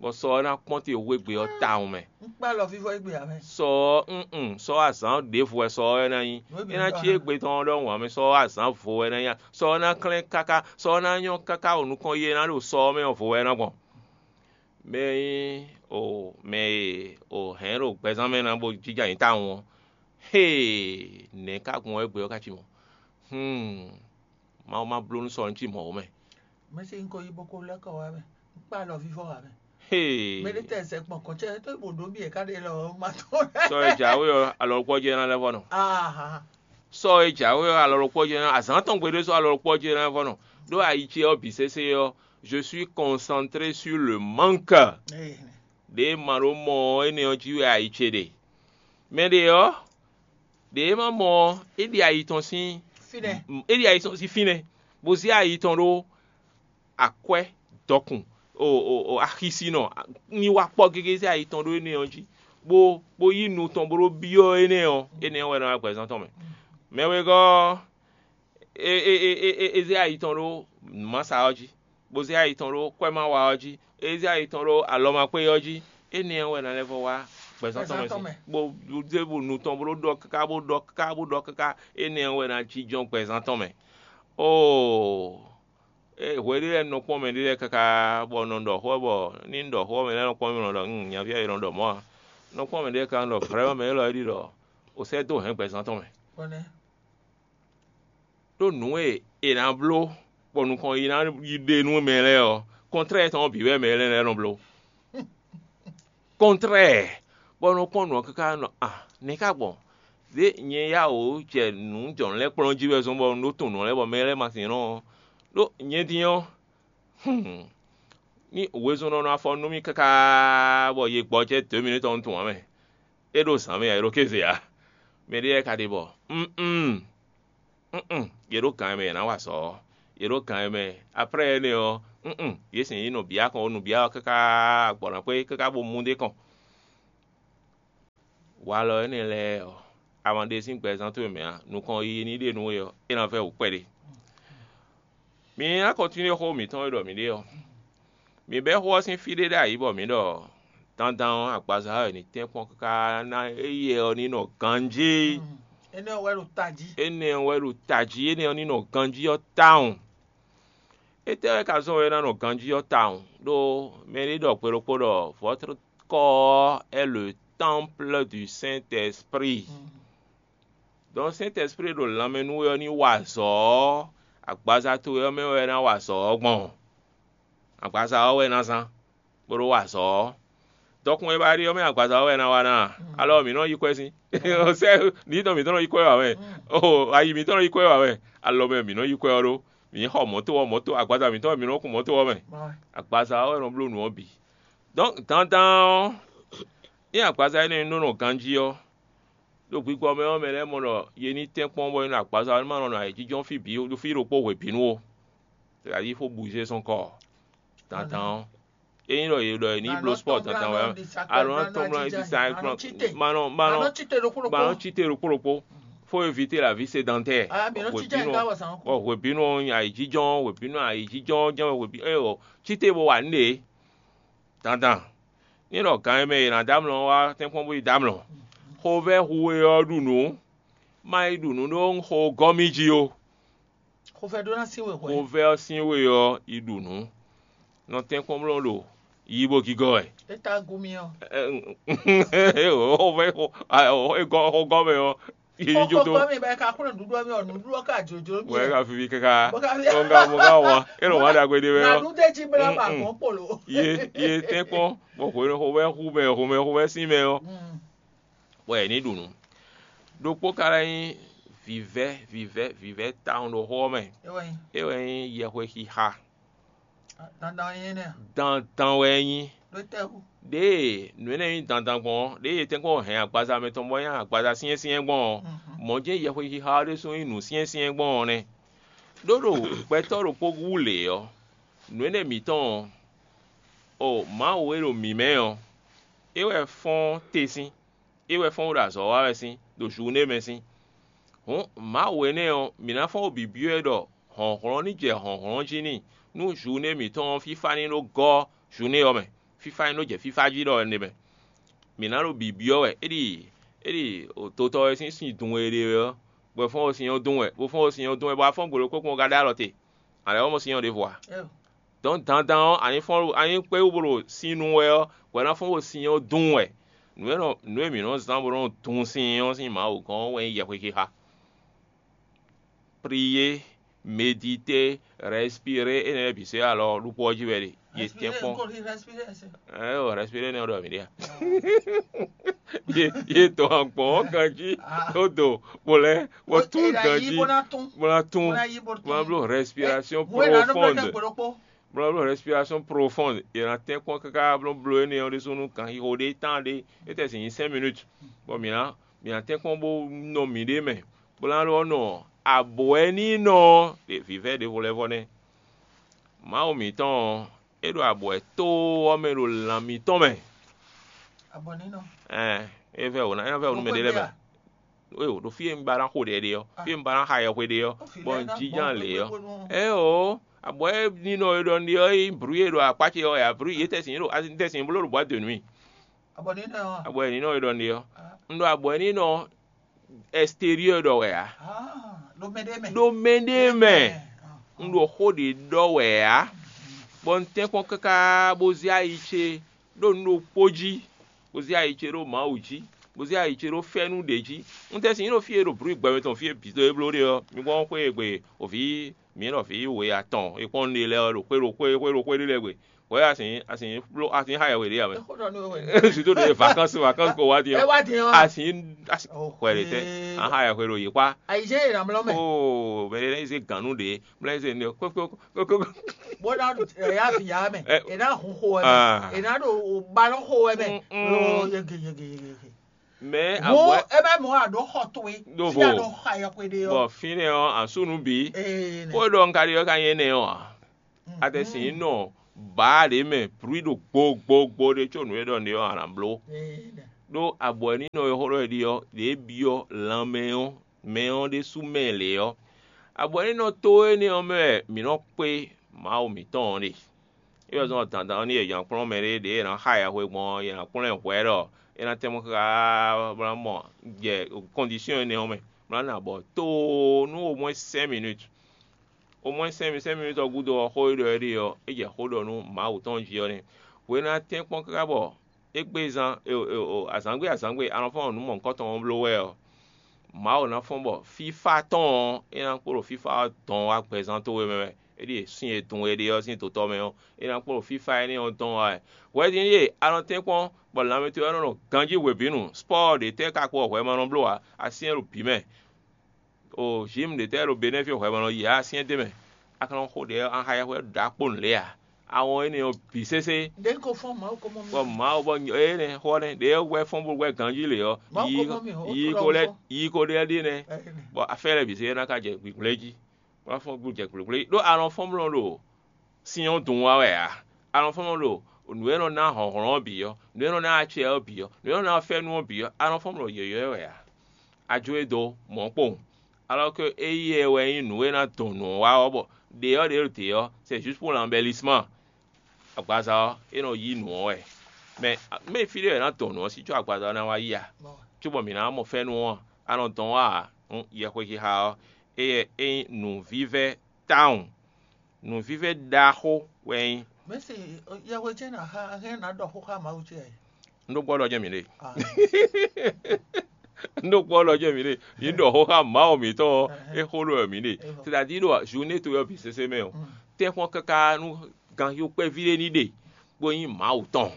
bɔ sɔ ɔ́ ná kpɔ́n te wegbe ɔ́ tawun mɛ. Un kpá lɔ fífɔ égbé ǎ mɛ. Sɔ ɔ́, un sɔ ɔ́ azǎn ɖěvo wɛ sɔ ɔ́ wɛ ná nyí. É ná cí égbé tɔn ɔ́ ɖɔhun ǎ mɛ, sɔ ɔ́ azǎn vo wɛ ná nyí. Sɔ ɔ́ ná klɛ́n káká, sɔ ɔ́ ná nyɔ́ káká ɖo nukɔn yi e ná ɖo sɔ ɔ́ mɛ ɔ́ vo wɛ ná gbɔn. Mɛ e nyí o mɛ e o hɛ̌n ɖo gbɛzán mɛ ná bó jínjɔ́n ayǐ tawun ɔ́, hee, nɛ̌ ka gbɔn wɛ gbɛ ɔ́ ka cí mɔ̌? Húun, Mawu ma bló nú sɔ ɔ́ ní cí mɔ̌ ó mɛ. Mɛ se un ko yi bó ko lɛ́ kɔ wá mɛ. Un kpá alɔ vívɔ́ wá mɛ. Hee. Mɛ ɖé tɛ zɛ gbɔn kɔn cɛ tó bò ɖó bí ɛ ká ɖe lɔ ma tɔn. Sɔ e jǎwe ɔ́, alɔ ɖokpó ɔ́ jɛ ná lɛ́ vɔ nɔ. Aha. Sɔ e jǎwe ɔ́, alɔ ɖokpó ɔ́ jɛ ná azǎn tɔn gbe ɖé sɔ́ alɔ ɖokpó ɔ́ jɛ ná vɔ nɔ. Ɖó ayi ce ɔ́ bǐ sésé ɔ́, je suis concentré sur le manque. Ɖě ma ɖó mɔ ɔ́ énɛ́ ɔ́ jí wɛ ayi ce ɖe. Mɛ ɖě ɔ́, ɖě e ma mɔ ɔ́, é ɖi ayi tɔn sín Fínɛ́. É ɖi ayi tɔn sín fínɛ́, bó zé ayi tɔn ɖó akwɛ́ dɔkun o o o axisinɔ ní wá kpɔ́ gégé zé ayi tɔn ɖó énɛ́ ɔ́ jí, bó bó yí nu tɔn bó ɖó byɔ́ énɛ́ ɔ́, énɛ́ ɔ́ wɛ nɔ wá gbɛzán tɔn mɛ. Mɛ wegɔ́ ɔ́, é é é é é zé ayi tɔn ɖó nǔmasa ɔ́ jí, bó zé ayi tɔn ɖó kwɛ́mawa ɔ́ jí, é zé ayi tɔn ɖó alɔmakpé ɔ́ jí, énɛ́ ɔ́ wɛ ná lɛ́ vɔ wá gbɛzán tɔn mɛ Gbɛzán tɔn sin. Mɛ. Bó zé bó nu tɔn bó ɖó ɖɔ káká bó ɖɔ káká bó ɖɔ káká, énɛ́ ɔ́ wɛ ná jínjɔ́n gbɛzán tɔn mɛ. Oo, é hwe ɖé lɛ́ɛ nɔ kpɔ́n mɛ ɖé lɛ́ɛ káká bɔ un nɔ ɖɔ xó ɔ́ bɔ ní un ɖɔ xó ɔ́ mɛ lɛ́ɛ nɔ kpɔ́n mì nɔ ɖɔ un nyaví ɔ́ è nɔ ɖɔ mɔ̌ ǎ. Un nɔ kpɔ́n mɛ ɖé ká nɔ ɖɔ vrɛ́mɛ mɛ élɔ́ é ɖi ɖɔ o sɛ́ dó hɛ̌n gbɛzán tɔn mɛ. Kpɔ́nɛ́. Ɖó nǔ e è nǎ bló bɔ nukɔn yi ná yi ɖe nú mɛ lɛ́ɛ ɔ́, kɔntrɛ́ɛ tɔn ɔ́ bǐ wɛ mɛ lɛ́ɛ lɛ́ɛ nɔ bló. Kɔntrɛ́ɛ, bɔ nɔ kpɔ́n nǔ ɔ́ káká nɔ a nɛ̌ ká gbɔn? Zě nyɛ yá wǒ jɛ nǔ jɔ̌nu lɛ́ɛ kplɔ́n jí wɛ zɔ́n bɔ un ɖó tunwun nǔ lɛ́ɛ bɔ mɛ lɛ́ɛ ma sin nɔ ɔ́, ɖó nyɛ din ɔ́, ní wezun nɔ nɔ afɔ nú mì káká bɔ ye gbɔjɛ́ dǒ mì nú tɔn un tunwun ǎ mɛ. É ɖo zǎn mɛ ǎ, é ɖo kéze ǎ. Mɛ ɖé lɛ́ɛ ka ɖe bɔ un un un un, yě ɖo gǎn e mɛ yě ná wa azɔ̌ ɔ́. Yě ɖo gǎn e mɛ. Aprɛ́ énɛ́ ɔ́, nǔnún, yě sɛn yě nɔ bǐ akɔn, nǔbíá ɔ́ káká gbɔ̌ ná xwé káká bó mú ɖ'é kɔn. Walɔ énɛ́ lɛ́ɛ ɔ́, a ma ɖe sín gbɛzán towe mɛ ǎ; nukɔn yiyi ní ɖe nú we ɔ́, é ná vɛ́ wǔ kpɛɖé. Mi ná kɔntinué xó mǐtɔn e ɖɔ mǐ ɖe ɔ́. Mǐ bɛ́ xó ɔ́ sín fí ɖé ɖ'ayǐ bɔ mǐ ɖɔ dandan ɔ́, agbaza ɔ́ è nǐ tɛ́nkpɔ́n káká ná éyɛ́ ɔ́ ní nɔ ganjí. Énɛ́ ɔ́ wɛ ɖo tají. Énɛ́ ɔ́ wɛ ɖo tají, énɛ́ ɔ́ ní nɔ ganjí ɔ́ tawun. Étɛ́ wɛ ka zɔ́n wɛ é ná nɔ ganjí ɔ́ tawun? Ɖó mɛ ɖé ɖɔ gbe ɖokpó ɖɔ: "Votre corps est le temple du Saint-Esprit." Donc Saint-Esprit ɖo lanmɛ nú we ɔ́ ní wa azɔ̌ ɔ́, agbaza towe ɔ́ mɛ wɛ é ná wa azɔ̌ ɔ́ gbɔn. Agbaza ɔ́ wɛ é ná zán, bó ɖó wa azɔ̌ ɔ́. Dɔkun e ba ɖe ɔ́ mɛ agbaza ɔ́ wɛ é ná wa ná a? Alɔ mǐ nɔ yí kwɛ́ sín. Sɛ́ nǐ tɔn mǐtɔn nɔ yí kwɛ́ wɛ ǎ mɛ. Oo, ayi mǐtɔn nɔ yí kwɛ́ wɛ ǎ mɛ. Alɔ mɛ mǐ nɔ yí kwɛ́ ɔ́ ɖó. Mǐ xɔ mɔ̌to ɔ́, mɔ̌to agbaza mǐtɔn wɛ mǐ nɔ kun mɔ̌to ɔ́ mɛ. Agbaza ɔ́ wɛ nɔ bló nǔ ɔ́ bǐ. Donc dandan ɔ́, ényí agbaza énɛ́ nɔ nɔ ganjí ɔ́, ɖo gbigbɔ mɛ ɔ́, mɛ lɛ́ɛ mɔ ɖɔ yě ní tɛ́nkpɔ́n bɔ é nɔ agbaza ɔ́ ní ma nɔ nɔ ayǐjínjɔ́n fí bǐ ɖo fí ɖokpó hwebǐnu ó. C'est-à-dire fó bouger son corps. Dandan ɔ́, ényí ɖɔ yě ɖɔ yě ní bló sport dandan wɛ, alɔ ná tɔn mlɔ́ di sa ma nɔ ma nɔ ma nɔ cíte ɖokpó ɖokpó. Fó éviter la vie sédentaire. Hwebǐnu ɔ́, bɔ hwebǐnu ɔ́ ayǐjínjɔ́n, hwebǐnu ayǐjínjɔ́n jɛ́n wɛ hwebǐnu. Cíte bo wa nǔɖé dandan. Ní ɖɔ gǎn e mɛ è nǎ dó amlɔ ɔ́ wá tɛ́nkpɔ́n bó yi dó amlɔ. Xovɛ́ hu e ɔ́ ɖu nǔ, má yi ɖu nǔ ɖó un xo gɔ́ mì jí ó. Xovɛ́ ɖó ná sín we hwɛ̌. Xovɛ́ ɔ́ sín we ɔ́ yi ɖu nǔ. Nɔ tɛ́nkpɔ́n bló ɖo yi bó gígɔ́ wɛ. É ta gu mì ɔ́. Xovɛ́ xo gɔ́ mɛ ɔ́, yi ní jó tó. Kɔkɔ mi bɛ ka kúrò nǔɖuɖu mi ɔ nǔɖuɖu ka jòjò mi. Wɛ ka vivi kaka. Bɔ ka vi. Mo ka mo ka wa. E lɔ wa ɖagbe ɖe wɛ ɔ. Nanu de ji bla ma gbɔn kpolo. Ye ye tɛ́nkpɔ́n bɔ hwenu xo wɛ xu mɛ xo mɛ xo wɛ sín mɛ ɔ. Wɛ ní ɖu nǔ. Ɖokpó ka lɛ́ nyí vǐvɛ́ vǐvɛ́ vǐvɛ́ tawun ɖo xó ɔ́ mɛ. É wɛ nyí. É wɛ nyí yɛhwexixa. Dandan wɛ nyí nɛ́. Dandan wɛ é nyí. Ɖó tɛ́ wú? Ɖěe nǔ énɛ́ nyí dandan gbɔn ɔ́, ɖěe è tɛ́nkpɔ́n hɛn agbaza mɛtɔn bɔ é nyí agbaza syɛ́nsyɛ́n gbɔn ɔ́, mɔ̌ jɛ́n yɛhwexixa ɔ́ ɖésú nyí nǔ syɛ́nsyɛ́n gbɔn ɔ́ nɛ́. Ɖó ɖo gbɛtɔ́ ɖokpó wú lě ɔ́, nǔ énɛ́ mǐtɔn ɔ́, o Mawu e ɖo mǐ mɛ ɔ́, é wɛ fɔ́n te sín, é wɛ fɔ́n ɖo azɔ̌ wa wɛ sín ɖo Zuné mɛ sín. Hǔn Mawu énɛ́ ɔ́, mǐ ná fɔ́n ɖo bǐbyɔ́ ɛ ɖɔ hlɔ̌nhlɔ́n ní jɛ hlɔ̌nhlɔ́n jí n'i, nú Zuné mǐtɔn ɔ́ fífá ní nɔ gɔ́ Zuné ɔ́ mɛ, fífá ní nɔ jɛ fífá jí ɖɔ énɛ́ mɛ. Mǐ ná ɖo bǐbyɔ́ wɛ, é ɖi é ɖi dotɔ e sín sin dun e ɖe ɔ́, bɔ è fɔ́n ɖo sin ɔ́ dun wɛ, bó fɔ́n ɖo sin ɔ́ dun wɛ, bɔ afɔ́n gbe ɖokpó kpɔ́n ka ɖó alɔ te. A lɛ́ wɛ mɔ sin ɔ́ ɖěvo a? Dɔ̌n dandan ɔ́, a ní fɔ́n a ní kpé wú bó ɖo sin nu wɛ ɔ́, bɔ é ná fɔ́n ɖo sin ɔ́ dun wɛ. Nǔ e nɔ nǔ e mǐ nɔ zán bó nɔ dun sin ɔ́ sín Mawu gɔ́n ɔ́ wɛ nyí yɛhwexixa. Prier, méditer, respirer, énɛ́ lɛ́ɛ bǐ se alɔ ɖokpó ɔ́ jí wɛ ɖe. Yě tɛ́nkpɔ́n. Ɛɛ o, respirer nɛ ɖɔ mǐ ɖe a? Ye ye dɔn agbɔn ɔ́ ganjí ɖó do bó lɛ́ bó tún ganjí bó ná tún bó ná bló respiration profonde. Bó ná bló respiration profonde. Yě ná tɛ́nkpɔ́n káká bló bló énɛ́ ɔ́ ɖésú nú ganxixo ɖé tán ɖé. É tɛ sin nyí cinq minutes. Bɔ mǐ ná mǐ ná tɛ́nkpɔ́n bó nɔ mǐɖée mɛ, bó ná lɔ́ nɔ abwɛ̌ ní nɔ vǐvɛ́ ɖěvo lɛ́ɛ vɔ nɛ́. Mawu mǐtɔn ɔ́, é ɖo abwɛ̌ tóó ɔ́ mɛ ɖo lan mǐtɔn mɛ. Abwɛ̌ ní nɔ. Ɛɛ, é vɛ wǒ ná é ná vɛ wǒ nú mɛ ɖé lɛ́ɛ mɛ. Éyo, ɖo fí e un ba ná xo ɖɛ ɖe ɔ́, fí e un ba ná xa yɛhwe ɖe ɔ́, bɔ un jínjɔ́n lě ɔ́. Éyo, abwɛ̌ ní nɔ e ɖɔ un ɖe ɔ́, é nyí brǔ e ɖo akpá ce ɔ́ wɛ ǎ, brǔ yě tɛ́sin ɖo tɛ́sin bló ɖo boîte de nuit. Abwɛ̌ ní nɔ e ɖɔ un ɖe ɔ́, un ɖo abwɛ̌ ní nɔ extérieur ɖɔ wɛ ǎ. Ɖo mɛ ɖé mɛ. Ɖo mɛ ɖé mɛ. Un ɖo xó ɖě ɖɔ wɛ ǎ. Bɔ un tɛ́nkpɔ́n káká bó zé ayi ce ɖo nǔ ɖokpó jí, bó zé ayi ce ɖo Mawu jí, bó zé ayi ce ɖo fɛ́nú ɖě jí. Un tɛ́sin nyí ɖo fí e ɖo blǔ gbɛmɛ tɔn fí e bǐ dó é bló ɖe ɔ́, mi gbɔn xwé e gbe òví mǐ ɖɔ vǐ we atɔn e kpɔ́n un ɖe lɛ́ɛ ɔ́ ɖo xwé ɖo xwé xwé ɖo xwé ɖé lɛ́ɛ gbe. Hwɛ asin asin bló asin xa yɛ we ɖe ame. Suto ɖe vacances vacances ko wá di ɔ́. Asin asin hwɛ ɖe tɛ an xa yɛ hwe ɖo yi kpa. Ayi jɛ yina mlɔ mɛ. Oo mɛ ɖe ne ze ganu ɖe mlɛ ze ne kpekpe kpekpe. Bó ná ya vi ya mɛ e ná hun xo wɛ mɛ e ná ɖo balɔn xo wɛ mɛ. Yege yege yege yege. Mɛ Hǔn abwɛ é bɛ́ mɔ̌ a ɖǒ xɔ towe Ɖo fí a vo. Ɖo xa yɔxwe ɖe ɔ́. Bɔ fínɛ́ ɔ́, asúnú bǐ. Ee, nɛ. Xó e ɖɔ un ka ɖi ɔ́ ka nyí énɛ́ ɔ́ a? Atɛ́ sin nɔ bǎ ɖě mɛ brǔi ɖo gbogbogbo ɖé có nǔ e ɖɔ nǔ é ɔ́ a nǎ bló. Ee, nɛ. Ɖó abwɛ̌nínɔ e xó ɖɔ è ɖi ɔ́, ɖě byɔ́ lanmɛ ɔ́, mɛ ɔ́ ɖésú mɛ lě ɔ́. Abwɛ̌nínɔ tó énɛ́ ɔ́ mɛ wɛ mǐ nɔ kpé Mawu mǐtɔn ɔ́ ɖe. É wɛ zɔ́n dandan ɔ́ nú yě nya kplɔ́n mɛ ɖé ɖě è nǎ xa yɛhwe gbɔn ɔ́, è nǎ kplɔ́n ɛ hwɛ̌ ɖɔ é ná tɛ́nmɔ káká bó ná mɔ jɛ kɔndisɔ́n énɛ́ ɔ́ mɛ, bó ná nɔ abɔ tóo nú au moins cinq minutes. Au moins cinq minutes, cinq minutes ɔ́ gúdo ɔ́, xó e ɖɔ é ɖe ɔ́, é jɛ xó ɖɔ nú Mawu tɔn jí ɔ́ nɛ́. Hwenu e a tɛ́nkpɔ́n káká bɔ égbé zán azǎngbe azǎngbe a nɔ fɔ́n nǔ mɔ̌hunkɔtɔn ɔ́ bló wɛ ɔ́, Mawu ná fɔ́n bɔ fífá tɔn ɔ́, é ná kpo ɖo fífá ɔ́ dɔn wá gbɛzán towe mɛ wɛ. É ɖíe sín e dun e ɖe ɔ́ sín dotɔ mɛ ɔ́, é ná kpo ɖo fífá énɛ́ ɔ́ dɔn wá wɛ. Hwɛ̌ din ɖíe a nɔ tɛ́nkpɔ́n bɔ lanmɛ towe ɔ́ nɔ nɔ ganjí hwebǐnu, spɔ́ɔ ɖě tɛ́ ka kpo hwɛ ma nɔ bló ǎ, a syɛ́n ɖo bǐ mɛ. O Jǐmu ɖě tɛ́ ɖo Benɛ́ fí hwɛ ma nɔ yi ǎ, a syɛ́n d'é mɛ. A ka nɔ xo ɖě ɔ́, a xa yɛhwɛ ɖǎkpó nǔ lě ǎ. A wɔn énɛ́ ɔ́ bǐ sésé. Ɖě ko fɔ́n Mawu ko mɔ mì. Bɔ Mawu bɔ énɛ́ xɔ nɛ́ ɖě wɛ fɔ́n bó wɛ ganjí lě ɔ́, Mawu yi ko mɔ mì, yi ko lɛ́ yi ko ɖe ɖi nɛ́. Bɔ afɛ́ lɛ́ɛ bǐ zé ná ka jɛ gbǐgblɛ́ jí. Wá fɔ́n gbú jɛ gblégblégbé ɖó a nɔ fɔ́n blɔ́n ɖo sin ɔ́ dun wá wɛ ǎ. A nɔ fɔ́n blɔ́n ɖo nǔ e nɔ ná hlɔ̌nhlɔ́n ɔ́ bǐ ɔ́, nǔ e nɔ ná acɛ ɔ́ bǐ ɔ́, nǔ e nɔ ná fɛ́nú ɔ́ bǐ ɔ́, a nɔ fɔ́n blɔ́n yɔ̌yɔ́ wɛ ǎ. A jó e dó mɔ̌ kpowun. Alɔ́ ke éyɛ́ wɛ nyí nǔ e ná dɔn nǔ ɔ́ wá ɔ́, bɔ ɖě ɔ́ ɖě ɖo dě ɔ́, c'est juste pour l'embellissement. Agbaza ɔ́, é nɔ yí nǔ ɔ́ wɛ. Mɛ mɛ fí ɖé wɛ è nǎ dɔn nǔ ɔ́ sí có agbaza ɔ́ ná wá yí a? Cóbɔ mǐ ná mɔ fɛ́nú ɔ́, a nɔ dɔn wá ǎ. Yɛhwexixa ɔ́, éyɛ́ é nyí nǔvívɛ́ tawun. Nǔvívɛ́ ɖaxó wɛ é nyí. Mɛ̌si, yɛhwe ce ná xa hɛn ná ɖɔ xó xá Mawu ce ǎ. Un ɖó gbɔ ɖɔ jɛ́n mǐ ɖe. Un ɖó gbɔ ɖɔ jɛ́n mǐ ɖe. Yě ɖɔ xó xá Mawu mǐtɔn ɔ́, é xó ɖɔ wɛ mǐ ɖe. C'est-à-dire ɖo journée towe ɔ́ bǐ sésé mɛ ɔ́, tɛ́nkpɔ́n káká nú ganxixo kpɛví ɖé ní ɖe, bó nyí Mawu tɔn.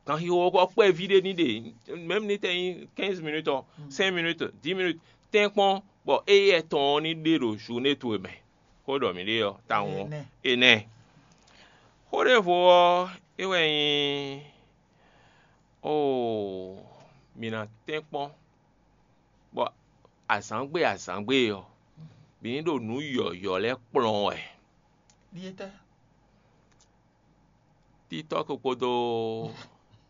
Ganxixo ɔ́ kpɛví ɖé ní ɖe, même ní tɛ nyí quinze minutes ɔ́, cinq minutes, dix minutes, tɛ́nkpɔ́n bɔ éyɛ́ tɔn ɔ́ ní ɖe ɖo journée towe mɛ. Xó ɖɔ mǐ ɖe ɔ́, tawun ɔ́, énɛ́. Xó ɖěvo ɔ́, é wɛ nyí, oo, mǐ ná tɛ́nkpɔ́n, bɔ azǎngbe azǎngbe ɔ́, mǐ ní ɖo nǔ yɔ̌yɔ́ lɛ́ɛ kplɔ́n wɛ. Ɖíe tɛ́? TikTɔ́k kpódó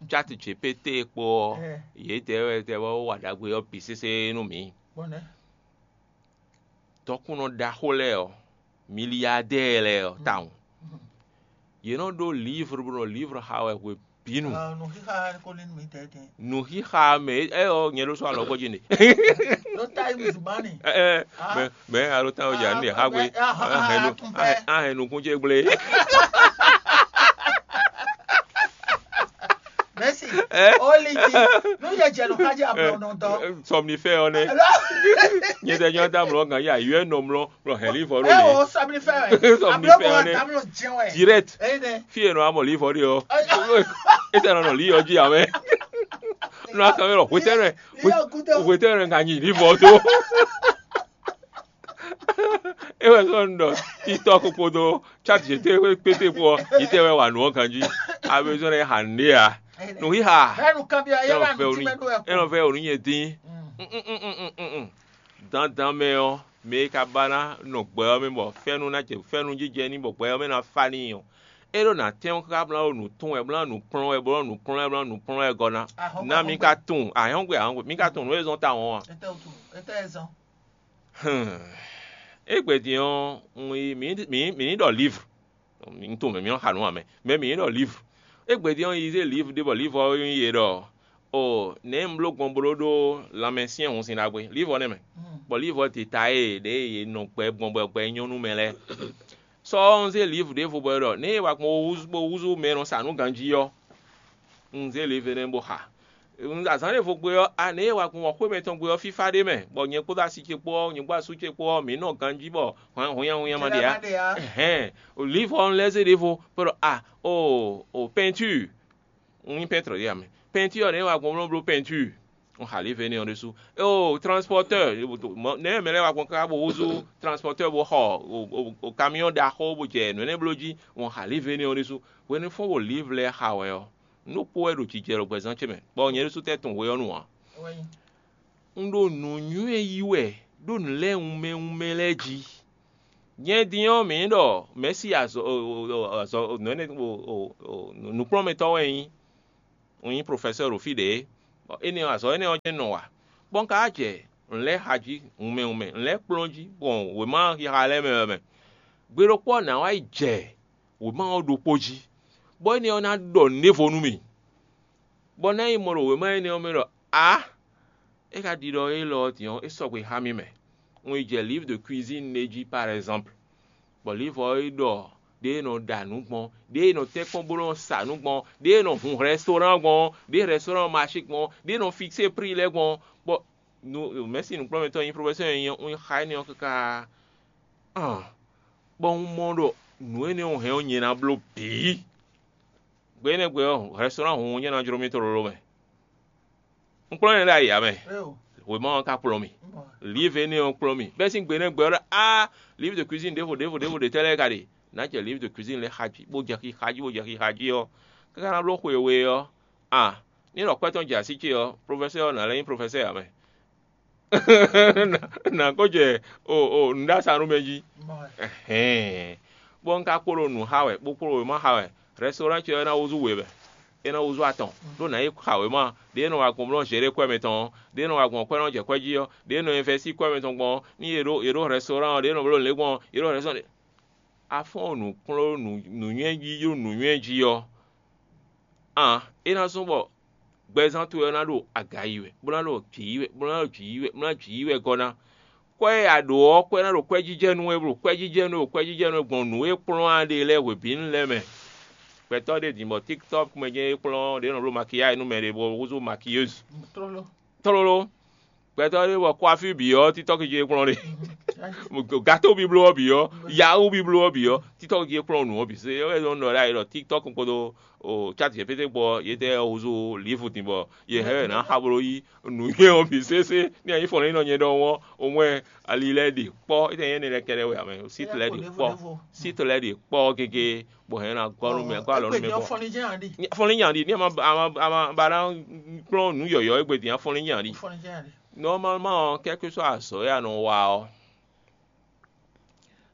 chat G P T kpó ɔ́, yědɛɛ wɛ tɛ wɛ wa ɖagbe ɔ́ bǐ sésé nú mǐ. Bɔnɛ. Dɔkunnɔ ɖaxó lɛ́ɛ ɔ́, miliyadɛɛ lɛ́ɛ ɔ́ tawun. Yě nɔ ɖó livre bó nɔ livre xa wɛ hwe bǐ nu. Nǔxixa ko lé nú mǐ tɛ́tɛ́. Nǔxixa mɛ ɛ ɔ nyɛ ɖó sɔ́ alɔ gbɔjí ne. Ɖó Times Money. Ɛ ɛ mɛ mɛ alo tán ɔjà ní ha gbe. Ahɛn nukún jɛ gblé. Mɛsi. Ɛ? Oliji. Nu yɛ jɛ nɔ kájí ablɔ nɔ dɔ. Sɔmnifɛ ɔ nɛ. Nyɛ tɛ nyɔ da mlɔ gan ya yɔ nɔ mlɔ mlɔ hɛn livɔ ɖo Ɛ le. O sɔmnifɛ wɛ. Sɔmnifɛ ɔ nɛ. Direct. Eyi nɛ. Fi yɛ nɔ amɔ livɔ ɖe ɔ. Ese nɔ nɔ li yɔ dzi amɛ. Nɔ akɛ wɛ hwetɛnɛ. Hwetɛnɛ nga nyi livɔ to. E wɛ sɔ nɔ TikTok kpódó chat G T kpété kpó ɔ, yi tɛ wɛ wa nǔ ɔ ganjí. A besoin de ha nǔɖé a. Nǔxixa. Bɛnu kanbyɔ yɛ Enɔ na vɛ nú onú. Enɔ vɛ onú nyɛ dín. Dandan mɛ ɔ, mɛ e ka ba ná nɔ gbɛ ɔ́ mɛ bɔ fɛ́nú ná jɛ fɛ́nú jijɛ ní bɔ gbɛ ɔ́ mɛ ná fá n'i ɔ́, é ɖó ná tɛ́n ɔ́ káká blá ɖó nǔ tún wɛ blá nǔ kplɔ́n wɛ bló nǔ kplɔ́n wɛ bló nǔ kplɔ́n wɛ gɔ́ ná. Ná mi ka tunwun ahɔ́ngbe ahɔ́ngbe mi ka tunwun nǔ e zɔ́n tawun ɔ́ a? Etɛ o tunwun etɛ e zɔ́n? Égbé din ɔ́, un yi mǐ mǐ mǐ ní ɖɔ livre. Un tunwun mɛ mǐ nɔ xa nǔ ǎ mɛ, mɛ mǐ ní ɖɔ livre. Égbé din ɔ́, un yi zé livre ɖé bɔ livre ɔ́ nyí ye ɖɔ o nɛ̌ un bló gbɔn bló ɖó lanmɛ syɛ́nhun sin ɖagbe livre ɔ́ nɛ́ mɛ. Bɔ livre ɔ́ dita e ɖě yě nɔ gbɛ gbɔn bɔ gbɛ nyɔ́ nú mɛ lɛ́ɛ. Sɔ ɔ́, un zé livu ɖěvo bɔ é ɖɔ nɛ̌ e wa gbɔn bó húzú bó húzú mɛ e nɔ sa nǔ ganjí ɔ́, un zé livu énɛ́ bó xa. Un azǎn ɖěvo gbe ɔ́, a nɛ̌ e wa gbɔn wɔ̌xwé mɛtɔn gbe ɔ́ fífá ɖ'é mɛ, bɔ nyɛ kpódó así ce kpó ɔ́, nyɛ kpó asú ce kpó ɔ́, mǐ nɔ ganjí bɔ hunnyahunnya ma ɖe ǎ. Ɛhɛ̌n, livu ɔ́ un lɛ́ zé ɖěvo bó ɖɔ a o o pɛntúur. Un nyí pɛ́ntrɔ ɖé ǎ mɛ. Pɛntúur ɔ́, nɛ̌ e wa gbɔn bó nɔ bló pɛntúur? Un xa lě vɛ n'i ɔ́ ɖésú. Éeǒ, transpɔtɛ́ɛ, nɛ̌ mɛ lɛ́ɛ wá gbɔn káká bó húzú transpɔtɛ́ɛ bó xɔ kamiɔ́ ɖaxó bó jɛ nǔ énɛ́ bló jí, un xa lě vɛ n'i ɔ́ ɖésú. Hwenu e fɔ́n ɖo lǐvlɛ xa wɛ ɔ́, un ɖó kpó wɛ ɖo jijɛ ɖo gbɛzán ce mɛ, bɔ nyɛ ɖésú tɛ́ tunwun hwe ɔ́ nu ǎ. Un ɖo nǔnywɛ́ yí wɛ ɖó nǔ lɛ́ɛ wunmɛ wunmɛ lɛ́ɛ jí. Nyɛ din ɔ́, mǐ ɖɔ mɛ̌si azɔ̌ azɔ̌ nǔ énɛ́ nǔkplɔ́nmɛtɔ́ wɛ nyí. Un nyí profɛsɛ́ ɖo fí ɖě, bɔ énɛ́ ɔ́, azɔ̌ énɛ́ ɔ́ jɛ́n nɔ wa, bɔ un ka wá jɛ nǔ lɛ́ɛ xa jí wunmɛ wunmɛ, nǔ lɛ́ɛ kplɔ́n jí, gbɔn wěma xixa lɛ́ɛ mɛ wɛ mɛ. Gbe ɖokpó ɔ́, nǎ wá yi jɛ wěma ɔ́ ɖokpó jí, bɔ énɛ́ ɔ́ ná ɖɔ nǔɖévo nú mì, bɔ ná yi mɔ ɖo wěma énɛ́ ɔ́ mɛ ɖɔ ǎ, é ka ɖiɖɔ élɔ́ ɔ́ din ɔ́, é sɔgbe xá mì mɛ. Un yi jɛ livre de cuisine ɖé jí par exemple, bɔ livre ɔ́ yi ɖɔ ɖěe è nɔ ɖa nǔ gbɔn, ɖěe è nɔ tɛ́nkpɔ́n bó nɔ sa nǔ gbɔn, ɖěe è nɔ hun restaurant gbɔn, ɖěe restaurant marché gbɔn, ɖěe è nɔ fixé prix lɛ́ɛ gbɔn, bɔ nu mɛ̌si nǔkplɔ́nmɛtɔ́ e nyí professeur e nyí ɔ́, un yi xa énɛ́ ɔ́ káká. Bɔ un mɔ ɖɔ nǔ énɛ́ ɔ́ hɛn ɔ́ nyɛ ná bló bǐ. Gbe énɛ́ gbe ɔ́, restaurant hun nyɛ ná jló mì tlóló mɛ. Un kplɔ́n nyɛ ɖo ayǐ ǎ mɛ. Wěma ɔ́ ka kplɔ́n mì. Livre énɛ́ ɔ́ kplɔ́n mì. Bɛ́ sín gbe énɛ́ gbe ɔ́ ɖɔ á, livre de cuisine ɖěvo ɖěvo ɖěvo ɖě tɛ́ lɛ́ɛ ka ɖe. Nǎ jɛ livre de cuisine lɛ́ɛ xa jí, bó jɛ xixá jí, bó jɛ xixá jí ɔ́, káká ná bló xwe we ɔ́, a ní ɖɔ kwɛ́ tɔn jɛ así ce ɔ́, profɛsɛ́ ɔ́ ná lɛ́ nyí profɛsɛ́ ǎ mɛ. Nǎ kó jɛ o o nǔɖasanú mɛ jí. Hɛn, bɔ un ka kpo ɖo nǔ xa wɛ, bó kpo ɖo wěma xa wɛ. Restaurant ce ɔ́ é ná húzú we wɛ, é ná húzú atɔn, ɖó nǎ yi xa wěma ɖě e nɔ wa gbɔn blɔ́ Zěɖé kwɛ́ mɛtɔn ɔ́, ɖě e nɔ wa gbɔn kwɛ́ nɔ jɛ kwɛ́ jí ɔ́, ɖě e nɔ invɛsí kwɛ́ mɛtɔn gbɔn ɔ́, ní yě ɖo yě ɖo restaurant ɔ́, ɖě e nɔ bló lě gbɔn ɔ́, yě ɖo restaurant. Afɔ́n nǔkplɔ́n nǔnywɛ́ jí ɖó nǔnywɛ́ jí ɔ́, an é ná zɔ́n bɔ gbɛzán towe ɔ́ ná ɖo aga yi wɛ, bó ná ɖo jǐ yi wɛ, bó ná ɖo jǐ yi wɛ, bó ná jǐ yi wɛ gɔ́ ná. Kwɛ́ e a ɖǒ ɔ́, kwɛ́ ná ɖo kwɛ́jijɛnú wɛ, bó ɖo kwɛ́jijɛnú wɛ, ɖo kwɛ́jijɛnú wɛ gbɔn nǔ e kplɔ́n a ɖe lɛ́ɛ hwebǐnu lɛ́ɛ mɛ. Gbɛtɔ́ ɖé din bɔ TikTok mɛ jɛ́n é kplɔ́n ɖě nɔ bló makiyáji nú mɛ ɖě bɔ húzú makiyézi. Tlóló. Gbɛtɔ́ ɖé bɔ kwafí bǐ ɔ́, TikTok jí é kplɔ́n ɖe. Gato bíbló ɔ́ bǐ ɔ́, yawu bíbló ɔ́ bǐ ɔ́, TikTok jí é kplɔ́n nǔ ɔ́ bǐ. Se é wɛ zɔ́n ɖɔ ɖ'ayǐ ɖɔ TikTok kpódó o chat G P T kpó ɔ́, yětɛ́ ɔ́ húzú livu din bɔ yě hɛn wɛ nǎ xa bló yí nǔnywɛ́ ɔ́ bǐ sésé. Ní a nyí fɔnlɛ́nyinɔ nyɛ ɖɔhun ɔ́, omwɛ ali lɛ́ɛ ɖe kpɔ́, étɛ́ nyí énɛ́ lɛ́ɛ kɛ́ɖɛ́ wɛ ǎ mɛ, sít lɛ́ɛ ɖe kpɔ́, sít lɛ́ɛ ɖe kpɔ́ gégé, bɔ hɛn ná gɔ́ nú mɛ, gɔ́ alɔ nú mɛ bɔ. Fɔnlín nya ɖi. Fɔnlín nya ɖi, ní a ma a ma a ma ba ná kplɔ́n nǔ yɔ̌yɔ́ égbé din, fɔnlín nya ɖi. Nɔmalman ɔ́, kɛ́kúsɔ azɔ̌ e a nɔ wa ɔ́,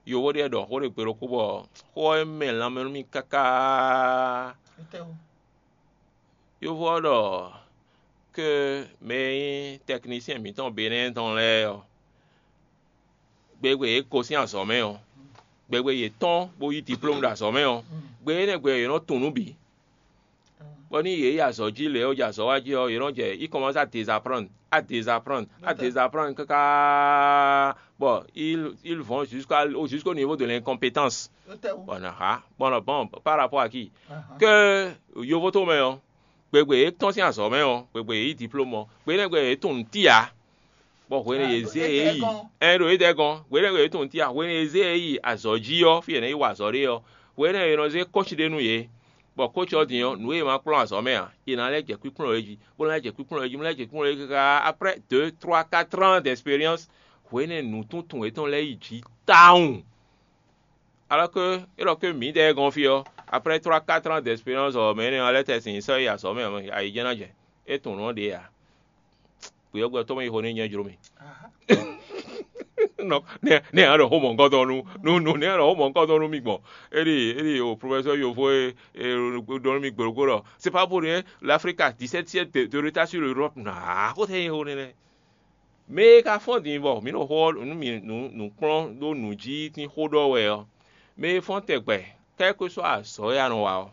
yovo ɖé ɖɔ xó ɖé gbe ɖokpó bɔ xó ɔ́ mɛ lanmɛ nú mì káká. Yovo ɔ́ ɖɔ ke mɛ e nyí tɛknisyɛn mǐtɔn Benɛ́ɛ tɔn lɛ́ɛ ɔ́, gbegbe yě gosín azɔ̌ mɛ ɔ́, gbegbe yě tɔ́n bó yí diplómu ɖo azɔ̌ mɛ ɔ́, gbe énɛ́ gbe ɔ́, yě nɔ tunwun nǔ bǐ. Bɔ ní yě yi azɔ̌ jí lě ɔ́, jɛ azɔ̌ wa jí ɔ́, yě nɔ jɛ yi kɔmɔsá dezaprann, a dezaprann, a dezaprann káká bɔ il il vɔn jusqu'à jusqu'au niveau de l'incompétence. Bɔn naxa bɔn bon, par rapport à qui? Ke yovo to mɛ ɔ́, gbegbe yě tɔ́n sín azɔ̌ mɛ ɔ́, gbegbe yě yi diplôme ɔ́, gbe énɛ́ gbe yě tunwun nǔ tí ǎ. Bɔ hwenu e yě zé yě yi, ɛn ɖo yědɛɛ gɔ́n, hwenu e yě tunwun tía, hwenu e yě zé yě yi azɔ̌ jí ɔ́, fí e è nɔ yi wa azɔ̌ ɖe ɔ́, hwenu e è nɔ zé kóci ɖé nú yě, bɔ kóci ɔ́ din ɔ́, nǔ e è ma kplɔ́n azɔ̌ mɛ ǎ, è nǎ lɛ́ jɛ kpíkplɔ́n yě jí, bó lɛ́ jɛ kpíkplɔ́n yě jí, bó lɛ́ jɛ kpíkplɔ́n yě jí káká. Après deux, trois, quatre ans d'expérience, hwenu e nǔtuntun yětɔn lɛ́ yi jǐ tawun. Alors que é ɖɔ que mǐdɛɛ gɔ́n fí ɔ́, après trois, quatre ans d'expérience ɔ́, mɛ énɛ́ ɔ́ lɛ́ tɛ́ sin sɔ́ yi azɔ̌ mɛ ɔ́, ayǐjɛ́n ná jɛ. É tunwun nǔ ɔ́ ɖě ǎ. Gběyɔ́gbɛ tɔn mɛ yi xo n'i nyɛ jló mì. Nɔ nɛ nɛ a ɖɔ xó mɔ̌hunkɔtɔn nú nú nú nɛ a ɖɔ xó mɔ̌hunkɔtɔn nú mì gbɔn. Éɖi éɖi o professeur yovo e e ɖɔ nú mì gběɖokpó ɖɔ c'est pas pour rien, l'Afrique a dix-sept siècles de, de retard sur l'Europe. Naa xó tɛ nyi xó nɛnɛ. Mɛ e ka fɔ́n din bɔ mǐ ɖo xó ɔ́ nú mì nǔ nǔ kplɔ́n ɖó nǔ jí tín xó ɖɔ wɛ ɔ́, mɛ e fɔ́n tɛgbɛ, quel que soit azɔ̌ e a nɔ wa ɔ́,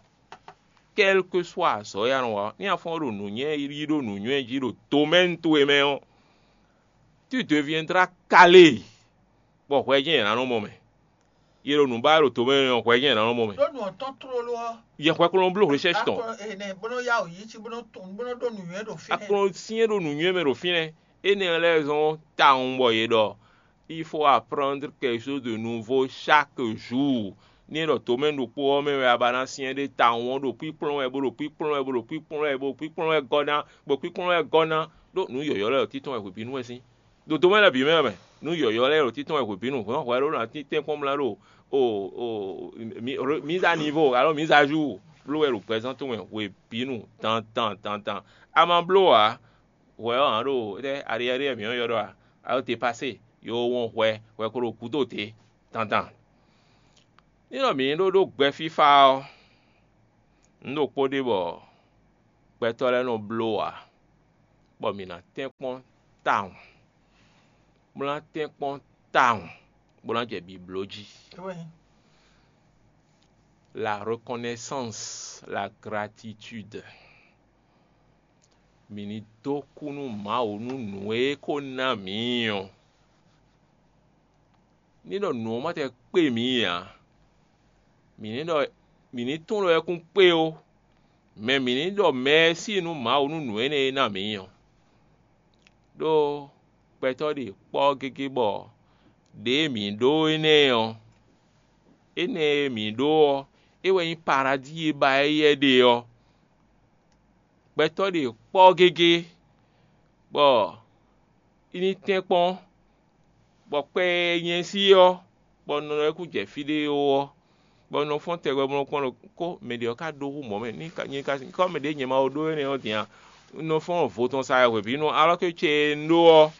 quel que soit azɔ̌ e a nɔ wa ɔ́, ní a fɔ́n ɖo nǔnywɛ́ yí ɖo nǔnywɛ́ jí ɖo domaine towe mɛ ɔ́, tu deviendras calé, bɔ hwɛ jɛ́n è nǎ nɔ mɔ mɛ. Yě ɖo nǔ ba wɛ ɖo domaine ɔ́, hwɛ jɛ́n è nǎ nɔ mɔ mɛ. Ɖó nǔ ɔ́ tɔn tlóló ɔ́, Yɛ hwɛ kplɔ́n bló recherche tɔn. Akplɔ ene bó nɔ́ yá wǔ yí cí bó nɔ́ tun bó nɔ́ ɖó nǔnywɛ́ ɖo fínɛ́. Akplɔ́n syɛ́n ɖo nǔnywɛ́ mɛ ɖo fínɛ́. Énɛ́ lɛ́ɛ zɔ́n tawun bɔ yě ɖɔ il faut apprendre quelque chose de nouveau chaque jour. Ní é ɖɔ domaine ɖokpó ɔ́ mɛ wɛ a ba ná syɛ́n ɖé tawun ɔ́ ɖo kpíkplɔ́n wɛ bó ɖo kpíkplɔ́n wɛ bó ɖo kpíkplɔ́n wɛ bó kpíkplɔ́n wɛ gɔ́ ná bó kpíkplɔ́n wɛ gɔ́ ná, ɖó nǔ yɔ̌yɔ́ lɛ́ɛ ɖo títɔn wɛ hwebǐnu wɛ sín. Ɖo domaine lɛ́ɛ bǐ mɛ wɛ mɛ, nǔ yɔ̌yɔ́ lɛ́ɛ ɖo títɔn wɛ hwebǐnu, hwɛ̌n hwɛ̌ ɖó ná tɛ́nkpɔ́n mlá ɖo o o mise à niveau alo mise à jour bló wɛ ɖo gbɛzán tɔn mɛ hwebǐnu dandan dandan. A ma bló ǎ. hwɛ ɔ́ hǎn ɖo étɛ́ ariɛ́riɛ mǐ ɔ́ ylɔ́ ɖɔ a? A ɖo te pasé, yo wɔn hwɛ, hwɛ ko ɖo gǔdo te dandan. Ní ɖɔ mǐ ní ɖó ɖó gbɛ fífá ɔ́, nǔ ɖokpó ɖe bɔ gbɛtɔ́ lɛ́ɛ nɔ bló ǎ, bɔ mǐ ná tɛ́nkpɔ́n tawun, bó ná tɛ́nkpɔ́n tawun, bó ná jɛ bibló jí. La reconnaissance, la gratitude. Mǐ ní dó kú nú Mawu nú nǔ e é ko ná mǐ ɔ́. Ní ɖɔ nǔ ɔ́ ma tɛ kpé mǐ ǎ. Mǐ ní ɖɔ mǐ ní tunwun ɖɔ é kún kpé ó, mɛ mǐ ní ɖɔ mɛ e sí nú Mawu nú nǔ énɛ́ e ná mǐ ɔ́. Ɖó gbɛtɔ́ ɖe kpɔ́ gégé bɔ ɖěe mǐ ɖó énɛ́ ɔ́, énɛ́ e mǐ ɖó ɔ́, é wɛ nyí paradíi e ba éyɛ́ ɖe ɔ́. Gbɛtɔ́ ɖe kpɔ́ gégé, bɔ é ní tɛ́nkpɔ́n, bɔ kpɛ e nyɛ sí ɔ́, bɔ un nɔ lɛ́ kú jɛ fí ɖé ó ɔ́, bɔ un nɔ fɔ́n tɛgbɛ bó nɔ kpɔ́n ɖɔ kó mɛ ɖě ɔ́ ka ɖó hú mɔ̌ mɛ, ní ka nyɛ ka kɔ́ mɛ ɖě nyɛ ma ko ɖó énɛ́ ɔ́ din a? Un nɔ fɔ́n vo tɔn sa wɛ hwebǐnu, alɔ́ ké ce e un ɖó ɔ́,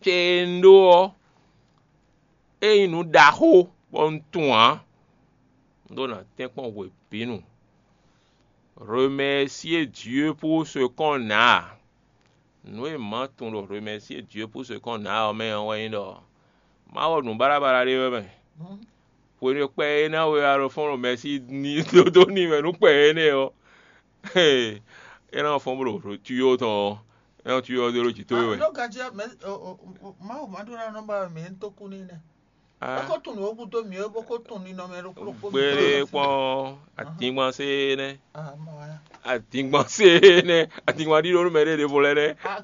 ce e un ɖó ɔ́, é nyí nǔ ɖaxó bɔ un tunwun ǎ. Un ɖó ná tɛ́nkpɔ́n hwebǐnu. Remercier Dieu pour ce qu'on a. Nǔ e mǎ tunwun ɖo remercier Dieu pour ce qu'on a ɔ́ mɛ ɔ́ wɛ nyí ɖɔ má wɔ nǔ baɖabaɖa ɖé wɛ mɛ. Hwenu e kpɛ e ná we alɔ fɔ́n ɖo mɛsí ní dódó n'i wɛ nú kpɛ énɛ́ ɔ́, é ná fɔ́n bó ɖo tuyó tɔn ɔ́, é nɔ tuyó ɔ́ dó ɖó jǐ towe wɛ. Ɖó ganjí ɔ́, mɛ- o- o- o- Mawu ma ɖó ná nɔ ba mɛ ní tó kú n'i nɛ́. Bó ko tunwun nǔ gúdo mǐ é bó ko tunwun ninɔmɛ ɖokpó ɖokpó mǐtɔn Gbére lɔ kpɔ́n, atíngban sé nɛ́. Ah, mɔ wá. Atíngban sé nɛ́. Atíngban ɖíɖó nú mɛ ɖé ɖěvo lɛ́ɛ nɛ́. Ah,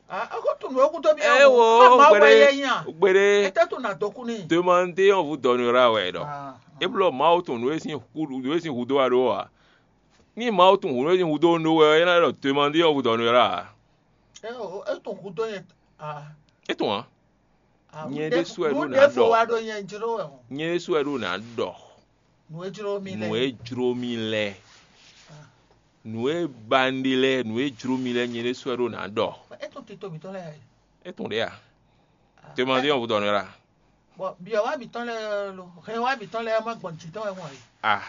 ah, é ko tunwun nǔ gúdo mí. É wo, ma wá gbére, yɛ nya. Gbére. Étɛ́ tunwun nà dó kú n'i. Demandez, on vous donnera wɛ ɖɔ. Ah, ah. É blɔ Mawu tunwun nǔ e sín hú nǔ e sín húdó a ɖó a? Ní Mawu tunwun nǔ e sín húdó un ɖó wɛ ɔ́, é ná ɖɔ demandez, on vous donnera. É o, é tunwun húdó nyɛ. Ah. É tunwun ǎ. Ah, Nyɛ ɖésú wɛ ɖó ná ɖɔ. Wá ɖó nyɛ jló wɛ o. Nyɛ ɖésú wɛ ɖó ná ɖɔ. Nǔ e jló mi lɛ. Nǔ e jló mi lɛ. Nǔ e ba un ɖe lɛ, nǔ e jló mi lɛ, nyɛ ɖésú wɛ ɖó ná ɖɔ. É tún tito mǐtɔn lɛ. É tún ɖe a? Te ma ɖe ɔn vodɔ nɔ la. Bɔ biɔ wá mǐtɔn lɛ lo, hɛn wá mǐtɔn lɛ ma gbɔn jǐ tɔn wɛ wɔn yi. Ah.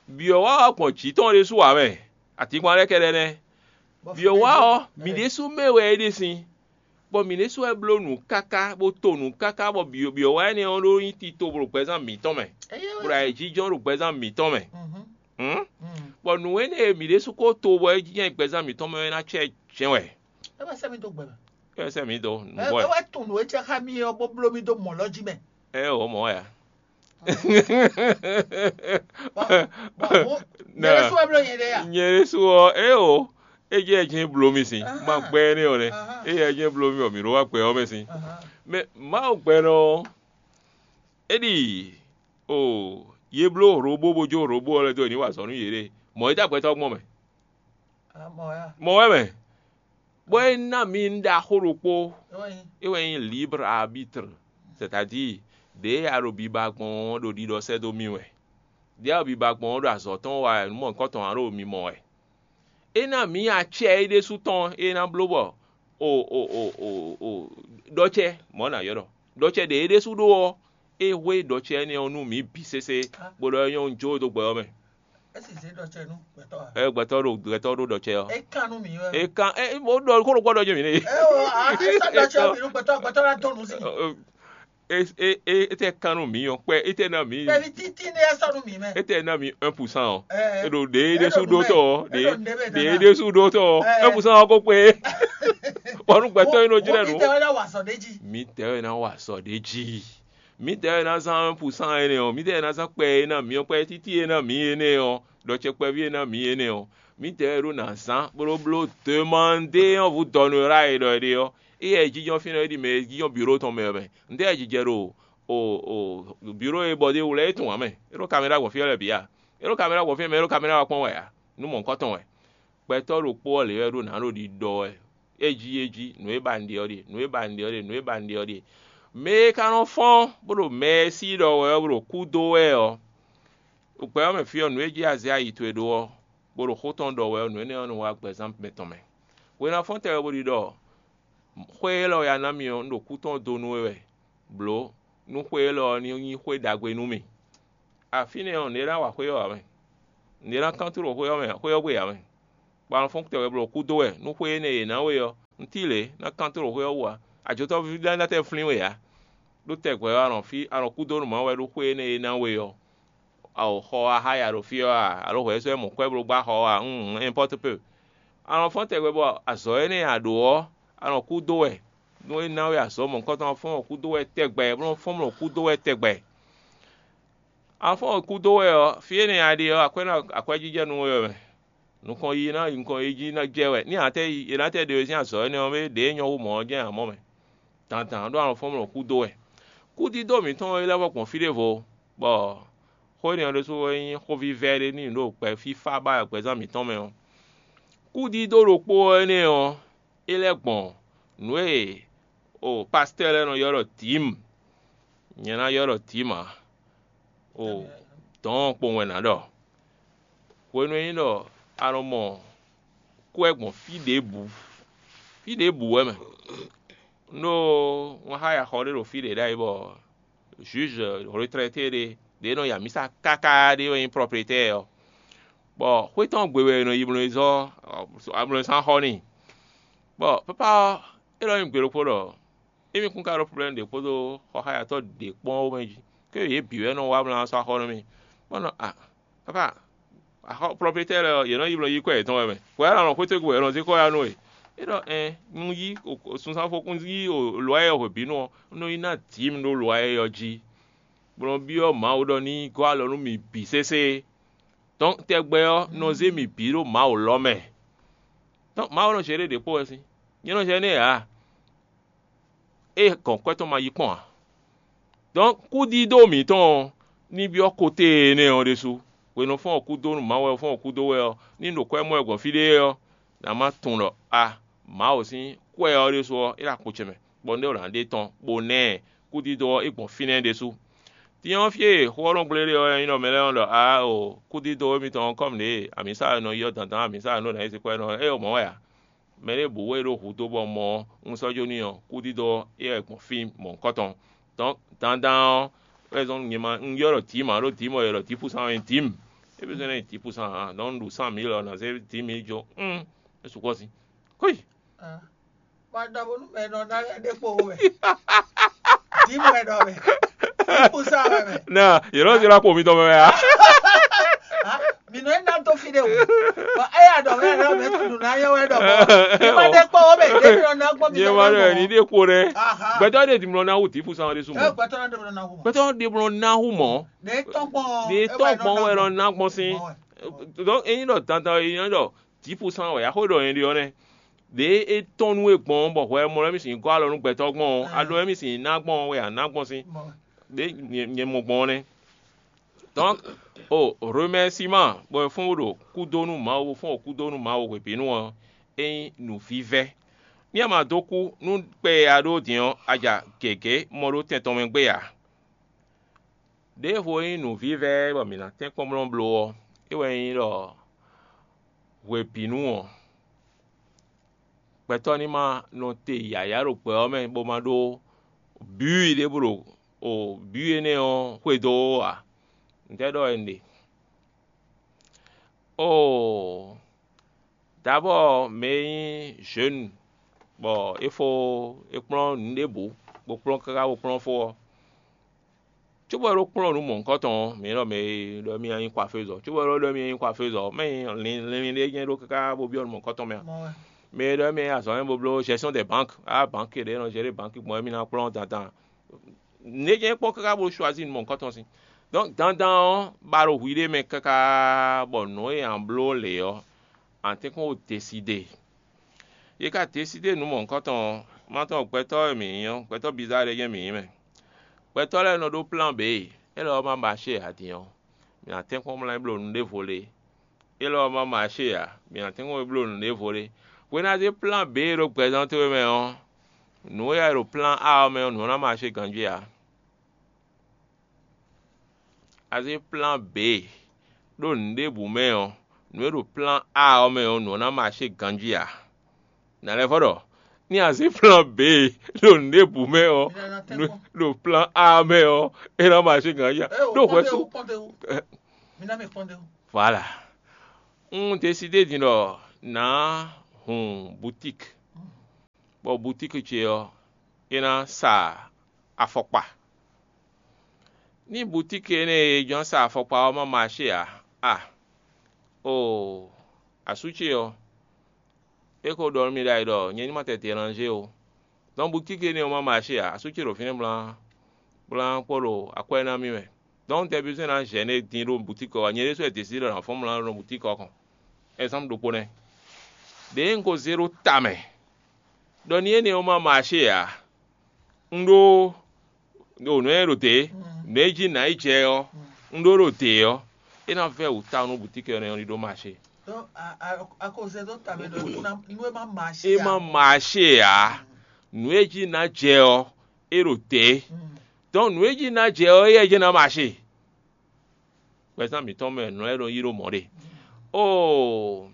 Biɔ wá wá gbɔn jǐ tɔn ɖésú wǎ mɛ. Atínkpan lɛ́ kɛɖɛ́ nɛ́. Biɔ wá ɔ́, mǐ ɖésú mɛ wɛ é ɖe sin. Bɔ mǐ ɖésú wɛ bló nǔ káká, bó to nǔ káká, bɔ byɔ̌byɔ́ wá énɛ́ ɔ́ ɖó nyí tito ɖo gbɛzán mǐtɔn mɛ, bɔ ɖo ayǐjínjɔ́n ɖo gbɛzán mǐtɔn mɛ. Hǔn? Bɔ nǔ énɛ́ e mǐ ɖésú ko to bɔ é jí nyɛ gbɛzán mǐtɔn mɛ ɔ́ ná cɛ jɛ́n wɛ. É wɛ sɛ́ mì dó gbɛ mɛ. É wɛ sɛ́ mǐ dó nǔgbó wɛ. É wɛ tunwun nǔ e jɛ xá mì é ɔ́, bó bló mì dó mɔ̌ lɔ jí mɛ. É ɔ́ mɔ̌ wɛ a? Nyɛ ɖésú wɛ bló nyɛ ɖe ya. Nyɛ ɖésú ɔ́, é o, é jɛ jɛ́n bló mì sín. Má gbɛ énɛ́ ɔ́ nɛ́. É jɛ jɛ́n bló mì ɔ́, mǐ ɖó wá gbɛ ɔ́ mɛ sín. Mɛ Mawu gbɛnɔ ɔ́, é ɖi o, yě bló hlobo bó jó hlobo ɔ́ lɛ́ dó e ní wa azɔ̌ nú yěɖée. Mɔ̌ é dó agbɛtɔ́ gbɔn mɛ. Mɔ̌ wɛ mɛ. Bɔ é ná mi nǔ ɖaxó ɖokpó, é wɛ nyí libre arbitre, c'est-à-dire ɖěe a ɖo biba gbɔn ɔ́ ɖo ɖiɖɔ sɛ́ dó mì wɛ. Ɖěe a ɖo biba gbɔn ɔ́ ɖo azɔ̌ tɔn wa wɛ, nǔ mɔ̌hunkɔtɔn ǎ ɖo mi mɔ wɛ. É ná mǐ acɛ é ɖésú tɔn e é ná bló bɔ o o o o o ɖɔcɛ mɔ̌ ná ylɔ́ ɖɔ ɖɔcɛ ɖě é ɖésú ɖó ɔ́, é hwé ɖɔcɛ énɛ́ ɔ́ nú mǐ bǐ sésé, bó ɖɔ é nyɔ́ jó dó gbɛ ɔ́ mɛ. É sì zé ɖɔcɛ nú gbɛtɔ́ ǎ. Ɛ gbɛtɔ́ ɖo gbɛtɔ́ ɖó ɖɔcɛ ɔ́. É kan nú mǐ wɛ. É kan é é ó ɖɔ kó ɖo kpɔ́ ɖɔ jɛ mǐ nɛ. É o a é sɔ́ ɖɔcɛ mǐ nú gbɛtɔ́ gbɛtɔ́ ná dó nǔ sí. É é é é tɛ kan nú mǐ ɔ́ kpɛ é tɛ ná mǐ. Kpɛví títí nɛ é sɔ́ nú mǐ mɛ. É tɛ ná mǐ un pour cent ɔ́. Ɛ É ɖo ɖě é ɖésú ɖó tɔ́ ɔ́ ɖě ɖě é ɖésú ɖó tɔ́ ɔ́ un pour cent ɔ́ kó kpé. Bɔ nú gbɛtɔ́ é nɔ jlɛ́ nǔ. Mǐ tɛ wɛ ná wa sɔ ɖ'é jí. Mǐ tɛ wɛ ná wa sɔ ɖ'é jí. Mǐdɛɛ e ná zán un pour cent énɛ́ ɔ́, mǐdɛɛ e ná zán kpɛ e ná mǐ ɔ́, kpɛ títí e ná mǐ énɛ́ ɔ́, ɖɔ ce kpɛví e ná mǐ énɛ́ ɔ́, mǐdɛɛ e ɖó ná zán bó ɖó bló demandé ɔ́ hú dɔnú e ɖɔ è ɖe ɔ́, éyɛ́ e jínjɔ́n fínɛ́ é ɖi mɛ e jínjɔ́n bǐɖó tɔn mɛ ɔ́ mɛ. Ntɛ́ɛ jijɛ ɖo o o bǐɖó e bɔ ɖ'é wú lɛ́ɛ é tunwun ǎ mɛ. É ɖó kamɛɖá gbɔn fí ɔ́ lɛ́ɛ bǐ a? É ɖó kamɛɖá gbɔn fí ɔ́ mɛ, é ɖó kamɛɖá wá kpɔ́n wɛ ǎ. Nú mɔ̌hunkɔtɔn wɛ. Gbɛtɔ́ ɖokpó ɔ́ lě wɛ ɖó nǎ ɖo ɖiɖɔ wɛ. É jí é jí, nǔ e ba un ɖe ɔ́ ɖíe, nǔ e ba un ɖe ɔ́ ɖíe, nǔ e ba un ɖe ɔ́ ɖíe. Mɛ e ka nɔ fɔ́n bó ɖo mɛ e sí ɖɔ wɛ ɔ́ bó ɖo kú dó wɛ ɔ́, ɖo gbɛ ɔ́ mɛ fí ɔ́, nǔ e jí azɛ ayi towe ɖó ɔ́, bó ɖo xó tɔn ɖɔ wɛ ɔ́, nǔ énɛ́ ɔ́ nɔ wá gbɛzán mɛtɔn mɛ. Hwe ná fɔ́n tɛgbɛ bó ɖi ɖɔ xwé élɔ́ e a ná mì ɔ́, un ɖo kú tɔn dó nú we wɛ. Blǒ nú xwé élɔ́ ɔ́ ní nyí xwé ɖagbe nú mì. Afínɛ́ ɔ́, nɛ̌ é ná wa xwé ɔ́ ǎ mɛ? Nɛ̌ é ná kán tló xwé ɔ́ mɛ, xwé ɔ́ gbe ǎ mɛ? Bɔ a nɔ fɔ́n tɛgbɛ bló kúdó wɛ nú xwé énɛ́ e yě ná we ɔ́, un cí lě ná kán tló xwé ɔ́ wú ǎ. Ajotɔ́ví lɛ́ɛ ná tɛ́ flín we ǎ, ɖó tɛgbɛ ɔ́, a nɔ fí a nɔ kúdó nú Mawu wɛ ɖó xwé énɛ́ e ná we ɔ́. A o xɔ wá xá ya ɖo fí ɔ́ a, alo hwɛ sɔ́ mɔ kwɛ́ bló gbá xɔ ɔ́ a? Un, n'importe peu. A nɔ fɔ́n tɛgbɛ bɔ azɔ̌ énɛ́ e a ɖǒ ɔ́, a nɔ kúdó wɛ. Nú é ná we azɔ̌ mɔ̌hunkɔtɔn ɔ́, fɔ́n mɔ kúdó wɛ tɛgbɛ, bó nɔ́ fɔ́n mɔ kúdó wɛ tɛgbɛ. A nɔ fɔ́n mɔ kúdó wɛ ɔ́, fí énɛ́ e a ɖe ɔ́, akwɛ́ ná akwɛ́jijɛ nú we wɛ mɛ. Nukɔn yiyi ná nukɔn yiyi jí ná jɛ wɛ. Ní a tɛ́ yi è nǎ tɛ́ ɖe we sín azɔ̌ énɛ́ ɔ́, ɖě e nyɔ́ hú mɔ̌ ɔ́ jɛ́n ǎ mɔ mɛ. Dandan ɖó a nɔ fɔ́n mɔ kúdó wɛ. Kúdídó mǐtɔn e lɛ́ vɔ gbɔn fí ɖěvo, bɔ xó énɛ́ ɔ́ ɖésú wɛ nyí xóvívɛ́ ɖé n'i ɖo gbɛ fífá ba gbɛzán mǐtɔn mɛ ɔ́. Kúdídó ɖokpó énɛ́ ɔ́, é lɛ́ gbɔn nǔ e o pastɛ́ lɛ́ɛ nɔ ylɔ́ ɖɔ dǐmu, nyɛ ná ylɔ́ ɖɔ dǐmu ǎ, o dɔ̌n kpowun wɛ nǎ ɖɔ. Hwenu e nyí ɖɔ a nɔ mɔ kú wɛ gbɔn fí ɖěbǔ, fí ɖěbǔ wɛ mɛ. Un ɖó wǎn xá yaxɔ ɖé ɖo fí ɖě ɖ'ayǐ bɔ juge retraité ɖé ɖě nɔ yi amǐsa káká ɖé wɛ nyí propriétaire ɔ́, bɔ xwé tɔn gbe wɛ è nɔ yi bló e zɔ́ ablɔ́sán xɔ n'i. Bɔ papa ɔ́, é ɖɔ nyi gbe ɖokpó ɖɔ émí kún ka ɖó problème ɖě kpódó xɔxáyatɔ́ ɖě kpɔ́n ɔ́ mɛ jí, ké yě bǐ wɛ nɔ wá mlá sɔ́ axɔ́ nú mì, bó nɔ a papa axɔ propriétaire lɛ́ɛ ɔ́, yě nɔ yi bló yí kwɛ́ yětɔn wɛ mɛ. Hwɛ alɔ xwétégbe wɛ è nɔ zé kɔ́ ya nú we. É ɖɔ ɛn un yí sunzánfó un yí lɔ̌ e hwebǐnu ɔ́, un nɔ yi ná dǐ mi ɖó lɔ̌ e ɔ́ jí, bó nɔ byɔ́ Mawu ɖɔ ní gɔ́ alɔ nú mì bǐ sésé. Dɔ̌n tɛgbɛ ɔ́, un nɔ zé mì bǐ ɖó Mawu lɔ́ mɛ. Dɔ̌n Mawu nɔ zé ɖé ɖě kpó wɛ sín. Nyɛ nɔ zɛ nɛ́ ǎ. É gɔn kwɛ́ tɔn ma yi kpɔ́n ǎ. Dɔ̌n kúdídó mǐtɔn ɔ́, ní byɔ́ koté énɛ́ ɔ́ ɖésú. Hwenu fɔ́n ɔ́ kúdó nú Mawu wɛ fɔ́n ɔ́ kúdó wɛ ɔ́, ní ɖo kwɛ́ mɔ wɛ gbɔn fí ɖé ɔ́, nǎ má tunwun ɖɔ a Mawu sín kwɛ́ ɔ́ ɖésú ɔ́, é ɖo akpo ce mɛ, bɔ un ɖó ná ɖe tɔn, bó ná ɛ kúdídó ɔ́, é gbɔn fínɛ́ ɖésú. Din ɔ́, fí e xó ɔ́ nɔ gblé ɖe ɔ́, é nyí ɖɔ mɛ lɛ́ɛ nɔ ɖɔ aa o kúdídó émitɔn ɔ́ kɔ́ nǔɖé amǐsa e nɔ yi ɔ́ dandan amǐsa e nɔ ná yi se kwɛ́ nɔ é o mɔ̌ wɛ ǎ. Mɛ ɖěbǔ e ɖo hǔ dó bɔ mɔ ɔ́, un sɔ́ jó n'i ɔ́, kúdídó ɔ́, é wɛ gbɔn fí mɔ̌hunkɔtɔn. Dɔ̌n dandan ɔ́, wɛ zɔ́n nyɛ ma un ylɔ́ ɖɔ dǐma ɖó dǐma e ylɔ́ ɖɔ dǐpúsán ɔ́ nyí dǐmu. É bí zɔ́n ná nyí dǐpúsán ǎ, dɔ̌n un ɖu sán mǐ lɔ ná zé dǐ mǐ jó. Un é sukpɔ́ sin. Kúi. Bɔ ɖɔ bónú mɛ nɔ ná ɖe kpo wɛ. Dǐmu wɛ ɖɔ mɛ. Dǐpúsán wɛ mɛ. Na yě nɔ zé ɖo akpo mitɔn mɛ wɛ a? Mi nɔ ná dó fi ɖe o. Bɔ eya ɖɔ wɛ ɖɔ mɛ tún ɖu ná yɔ wɛ ɖɔ bɔ. Mi ma ɖe kpo wɛ mɛ ɖe mi nɔ ná gbɔ mi Nyɛ ma ɖɔ ní ɖe kpo ɖɛ. Gbɛtɔ ɖe dimlɔ ná wu dǐpúsán ɖe sumɔ. Gbɛtɔ ɖe mi nɔ ná wu mɔ. Gbɛtɔ ɖe dimlɔ ná wu mɔ. Ɖe tɔn gbɔn. Ɖe tɔn gbɔn wɛ nɔ ná gbɔn sín. Donc eyin ɖɔ dandan eyin ɖɔ dǐ púsán wɛ a xó ɖɔ nyɛ ɖe ɔ́ nɛ́. Ɖě é tɔ́n nú we gbɔn ɔ́, bɔ hwɛ mɔ lɛ́ mì sixú gɔ́ alɔ nú gbɛtɔ́ gbɔn ɔ́, a ɖo wɛ mì sixú ná gbɔn ɔ́, wɛ a nǎ gbɔn sín. Ɖě nyɛ mɔ gbɔn ɔ́ nɛ́. Donc o remɛsíman bɔ è fɔ́n bó ɖo kúdó nú Mawu, bó fɔ́n ɖo kúdó nú Mawu hwebǐnu ɔ́, é nyí nǔvívɛ́. Ní a ma dó kú nú kpɛ e a ɖó din ɔ́, a ja gěgé mɔ ɖó tɛn tɔn mɛ gbé ǎ. Ɖěvo e nyí nǔvívɛ́ bɔ mǐ ná tɛ́nkpɔ́n mlɔ́bló ɔ́, é wɛ nyí ɖɔ hwebǐnu ɔ́, gbɛtɔ́ ní ma nɔ te yǎyá ɖo gbɛ ɔ́ mɛ bó ma ɖó bǐ ɖěbǔ ɖo bǐ énɛ́ ɔ́ xwedó ó ǎ. Ntɛ́ ɖɔ wɛ un ɖe? Oo, Dabɔ mɛ e nyí zhenu bɔ é fó é kplɔ́n nǔ ɖěbǔ bó kplɔ́n káká bó kplɔ́n fó ɔ́, cóbɔ é ɖó kplɔ́n nǔ mɔ̌hunkɔtɔn ɔ́, mǐ ɖɔ mɛ e ɖɔ émí ná nyí kwafézɔ, cóbɔ é ɖó ɖɔ émí ná nyí kwafézɔ, mɛ e nyí linlin ɖé nyɛ ɖó káká bó byɔ́ nǔ mɔ̌hunkɔtɔn mɛ a? Mɛ e ɖɔ émí azɔ̌ nyɛ bó bló gestion des banques, á banque ɖě nɔ gérer banque gbɔn émí ná kplɔ́n dandan. Nǔ e jɛ́n é kpɔ́n káká bó choisir nǔ mɔ̌hunkɔtɔn sín. Donc dandan ɔ́, ba ɖo hwi ɖé mɛ káká bɔ nǔ e a bló lě ɔ́, a tɛ́nkpɔ́n wo décider. Yě ka décider nǔ mɔ̌hunkɔtɔn ɔ́, má tɔn gbɛtɔ́ e mǐ nyí ɔ́, gbɛtɔ́ bizarre ɖé jɛ́n mǐ nyí mɛ. Gbɛtɔ́ lɛ́ɛ nɔ ɖó plan B, élɔ́ ɔ́ ma marché ǎ din ɔ́, mǐ ná tɛ́nkpɔ́n mlá yi bló nǔ ɖěvo lě. Élɔ́ ɔ́ ma marché ǎ, mǐ ná tɛ́nkpɔ́n yi bló nǔ ɖěvo lě. Hwenu e a zé plan B ɖó gbɛzán towe mɛ ɔ́, nǔ e a ɖo plan A ɔ́ mɛ ɔ́, nǔ ɔ́ ná marché ganjí ǎ. A zé plan B ɖó nǔ ɖěbǔ mɛ ɔ́, nǔ e ɖo plan A ɔ́ mɛ ɔ́, nǔ ɔ́ ná marché ganjí ǎ. Nǎ lɛ́ vɔ ɖɔ ní a zé plan B ɖo nǔɖébǔ mɛ ɔ́, ɖo plan A mɛ ɔ́, é ná ma ṣe gǎn ya. Ɖó hwɛ̌ sú. Voilà. Un désidé din ɖɔ nǎ hun boutique, bɔ boutique ce ɔ́, é ná sa afɔkpa. Ní boutique énɛ́ e jɔ́n sa afɔkpa ɔ́ ma maché ǎ, a, oo, asú ce ɔ́, é ko ɖɔ nú mì ɖ'ayǐ ɖɔ nyɛ ní ma tɛ dérangé o. Dɔn boutique énɛ́ ɔ́ ma maché ǎ, asú ce ɖo fínɛ́ blan blan kpó ɖo akwɛ́ ná mì mɛ. Dɔn un tɛ besoin ná gêné din ɖo boutique ɔ́ wá, nyɛ ɖésú wɛ désidé ɖɔ nǎ fɔ́n mlá ɖo boutique ɔ́ kɔn. Ɛzanpu ɖokpó nɛ́. Ɖěe un ko zé ɖó ta mɛ ɖɔ ní énɛ́ ɔ́ ma maché ǎ, un ɖó ɖo nǔ e ɖo dě, nǔ e jí nǎ yi jɛ ɔ́, un ɖó ɖo dě ɔ́, é ná vɛ́ wǔ tawun nú butiki ɔ́ nɛ́ ɔ́ ní ɖó maché. Donc, a, a, a ko zɛ dó ta mɛ ɖɔ nú ná- nú é má maché É má ǎ. Maché ǎ. Nǔ e jí ná jɛ ɔ́, é ɖo dě. Mm. Donc nǔ e jí ná jɛ ɔ́, éyɛ́ jɛ́n ná maché. Gbɛzán mǐtɔn mɛ nǔ lɛ́ɛ nɔ yí ɖó mɔ̌ ɖe. Oo,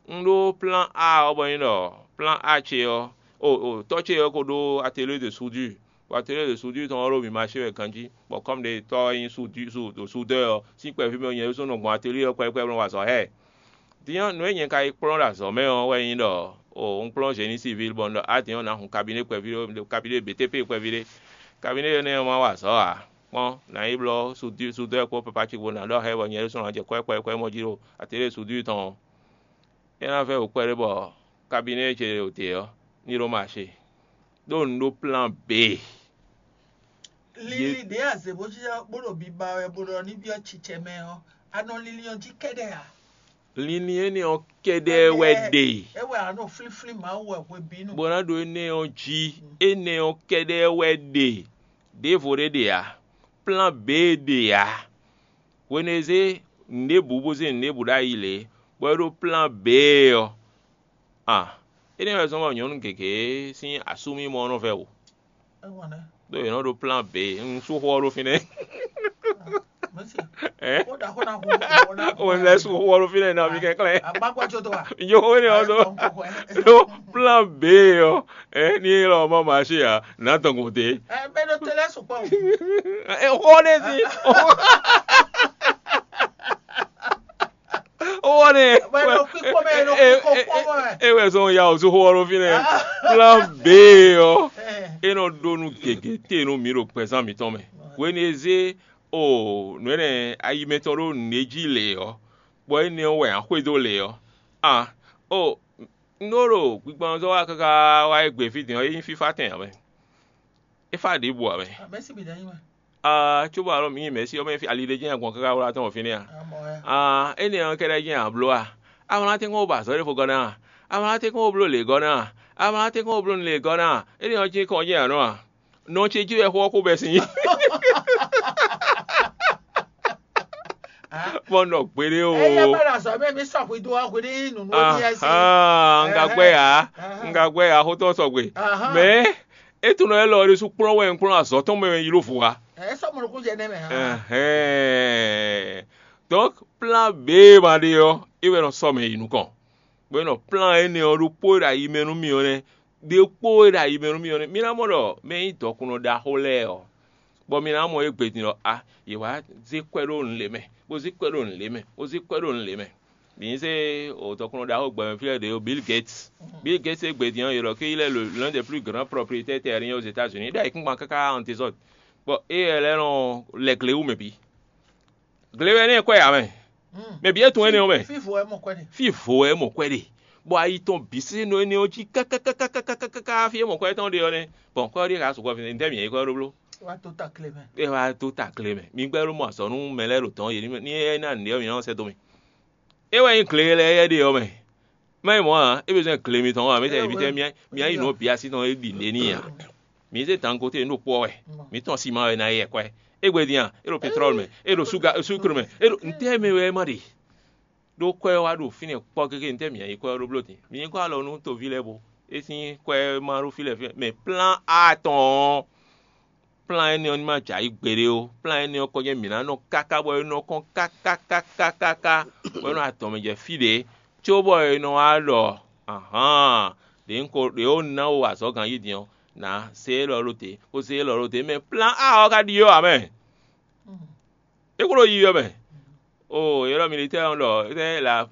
un ɖó plan A ɔ́ bɔ nyí ɖɔ plan A ce ɔ́, o o tɔ́ ce ɔ́ ko ɖó atelier de soudure, bɔ atelier de soudure tɔn ɔ́ ɖo mǐ maché wɛ ganjí, bɔ kɔ́mu ɖe tɔ́ ɔ́ nyí soudure, soudeur ɔ́, sín kpɛví mɛ nyɛ ɖésú nɔ gbɔn atelier ɔ́ kpɛɖékpɛɖé bó nɔ wa azɔ̌ xá ɛ. Din ɔ́, nǔ e nyɛ ka yi kplɔ́n ɖo azɔ̌ mɛ ɔ́ wɛ nyí ɖɔ, o un kplɔ́n génie civil bɔ un ɖɔ á din ɔ́, nǎ hun cabinet kpɛví ɖé, cabinet B T P kpɛví ɖé. Cabinet énɛ́ ɔ́ ma wa azɔ̌ ǎ. Kpɔ́n, nǎ yi blɔ́ soudeur kpó papa ce kpó ná ɖɔ xá ɛ bɔ nyɛ ɖésú ná jɛ kwɛ́ kwɛ́ kwɛ́ mɔ jí ɖo atelier soudure tɔn ɔ́. É ná vɛ́ wǔ kpɛɖé bɔ cabinet ce ɖo te ɔ́, ní ɖó maché. Ɖó un ɖó plan B. Lili ɖě a zě bó cí bó ɖo biba wɛ bó ɖɔ ní byɔ́ cicɛ mɛ ɔ́, a nɔ lili ɔ́ jí kɛ́ɖɛ́ ǎ. Lili énɛ́ ɔ́ kɛ́ɖɛ́ wɛ ɖe. É wɛ a nɔ flínflín Mawu wɛ hwebǐnu. Bó ná ɖo énɛ́ ɔ́ jí, énɛ́ ɔ́ kɛ́ɖɛ́ wɛ ɖe. Ɖěvo ɖé ɖe ǎ. Plan B ɖe ǎ. Hwenu e zé nǔɖébǔ bó zé nǔɖébǔ ɖ'ayǐ lě, bɔ é ɖó plan B ɔ́, a énɛ́ wɛ zɔ́n bɔ nyɔ̌nu gěgé sín asúmimɔ ɔ́ nɔ vɛ́ wǔ. Ɖó yě nɔ ɖó plan B, un sú xó ɔ́ ɖó fínɛ́. Ɛ? O lɛ sú xó ɔ́ ɖó fínɛ́ ná mi kɛnklɛ́n. Yo, énɛ́ ɔ́ ɖó ɖó plan B ɔ́, ɛ ní é lɔ mɔ maché ǎ, nǎ dɔn gɔn dé. Ɛ bɛ ɖo télé sukpɔ o. Ɛ xó ɖé sí. Owó ni. Bɔ e nɔ kpíkpɔ́ mɛ, e nɔ kpíkpɔ́ kpɔ́ mɛ. E wɛ zɔn ya o zó xó ɔ́ ɖó fínɛ́. Plan B ɔ́, é nɔ ɖó nú gěgé te nú mǐ ɖo gbɛzán mǐtɔn mɛ. Hwenu e zé o nǔ énɛ́ ayi mɛtɔn ɖó nǔɖé jí lě ɔ́, bɔ énɛ́ ɔ́ wɛ ǎ xwedó lě ɔ́, a o un ɖó ɖo gbigbɔnzɔ́ wa káká wá é gbe fí din ɔ́, é nyí fífá tɛn ǎ mɛ. É fá ɖěbǔ ǎ mɛ. Mɛ̌si bǐ ná nyí mɛ. Aa, cóbɔ alɔ mǐ nyi mɛ̌si ɔ́ mɛ fí ali ɖé jɛ́n agbɔn káká wlá tɔn fínɛ́ a? Amɔ ya. Aa, énɛ́ ɔ́ kɛ́ɖɛ́ jɛ́n a bló a? A ma ná tɛ́nkpɔ́n wó ba azɔ̌ ɖěvo gɔ́ ná a? A ma ná tɛ́nkpɔ́n wó bló lě gɔ́ ná a? A ma ná tɛ́nkpɔ́n wó bló nǔ lě gɔ́ ná a? Énɛ́ ɔ́ cí kɔn jɛ́n a nɔ a? Nɔ ce jí wɛ xó ɔ́ kó bɛ́ sín. Bɔ un ɖɔ gbeɖé o. Eye bɛ ɖo azɔ̌ mɛ mi sɔ hwi dó ɔ́ hwi ní nunu ní ɛ sí. Ahan, un ka gbɛ ya, un ka gbɛ ya xótɔ sɔgbe. Mɛ é tunɔ élɔ́ ɖésú kplɔ́n wɛ un kplɔ́n azɔ̌ tɔn mɛ yi ɖó vo wa. Ɛ sɔ mɔ nukún jɛ nɛ mɛ. Ɛhɛn. Donc plan B ma ɖe ɔ́, é wɛ nɔ sɔ mɛ yi nukɔn. Bɔ é nɔ plan énɛ́ ɔ́ ɖokpó e ɖo ayi mɛ nú mì ɔ́ nɛ́, ɖokpó e ɖo ayi mɛ nú mì ɔ́ nɛ́. Mi ná mɔ ɖɔ mɛ e nyí dɔkunnɔ ɖaxó lɛ́ɛ ɔ́, bɔ mi ná mɔ égbé din ɖɔ a, yě wá zé kwɛ́ ɖó nǔ lě mɛ, bó zé kwɛ́ ɖó nǔ lě mɛ, bó zé kwɛ́ ɖó nǔ lě mɛ. Mǐ zé o dɔkunnɔ ɖaxó gbɛmɛ fí lɛ́ɛ ɖě ɔ́, Bill Gates. Bill Gates égbé din ɔ́, yě ɖɔ ké yi lɛ́ le l'un des plus grands propriétaires terriens aux États-Unis. É ɖo ayǐkúngban káká en désordre. Bɔ éyɛ́ lɛ́ɛ nɔ lɛ gle wú mɛ bǐ. Gle wɛ nɛ́ kwɛ́ ǎ mɛ. Mɛ bǐ e tunwun énɛ́ ɔ́ mɛ. Fífo wɛ mɔ kwɛ́ ɖe. Fífo wɛ mɔ kwɛ́ ɖe. Bɔ ayi tɔn bǐ sín nɔ énɛ́ ɔ́ jí kákákákákákáká fí e mɔ kwɛ́ tɔn ɖe ɔ́ nɛ́. Bɔn kwɛ́ ɔ́ ɖíe ka sukpɔ́ fínɛ́, ntɛ́ mǐ yɛ yi kwɛ́ ɔ́ ɖó bló. Wá tó ta kle mɛ. É wá tó ta kle mɛ. Mi gbɛ́ ló mɔ azɔ̌ nú mɛ lɛ́ɛ ɖo dɔ̌n yě ní é ná nǔɖé ɔ́, mǐ nɔ sɛ́ dó mì. É wɛ nyí gle lɛ́ɛ yɛ ɖe ɔ́ mɛ. Má nyí mɔ̌ ǎ, é bɛ́ zɔ́n gle mitɔn wá, mǐ tɛ mǐ tɛ mǐ mǐ nyi nǔ bǐ así tɔn é ɖi nǔɖé n'i ǎ. Mǐ zé dan ko te nǔ ɖo kpɔ́ wɛ. Mǐ tɔn siman wɛ ná yɛ kwɛ́. Égbé din a, é ɖo pétrɔ́l mɛ, é ɖo suga súkru mɛ, é ɖo ntɛ́ mɛ wɛ é má ɖe. Ɖó kwɛ́ ɔ́ wá ɖo fínɛ́ kpɔ́ gégé ntɛ́ mǐ yi kwɛ́ ɔ́ ɖó bló din. Mǐ yi kɔ alɔ nú toví lɛ́ɛ bo. É sín kwɛ́ ma ɖó fí lɛ́ɛ fí mɛ. Mɛ plán A tɔn ɔ́, plán énɛ́ ɔ́ ní ma jɛ ayǐ gbeɖé ó. Plán énɛ́ ɔ́ kɔn jɛ́n mǐ ná nɔ káká bɔ é nɔ kɔn kákákákáká bɔ é nɔ adɔn mɛ jɛ fí ɖě, cóbɔ è nɔ wá ɖɔ ahǎn, ɖě un ko ɖě ó ná wo azɔ̌ ganjí din ɔ́, nǎ zé élɔ́ ɖó te, bó zé élɔ́ ɖó te, mɛ plan A ɔ́ ka ɖyɔ́ ǎ mɛ. É kúɖo yiyi ɔ́ mɛ. O yě ɖɔ militaire ɔ́ ɖɔ la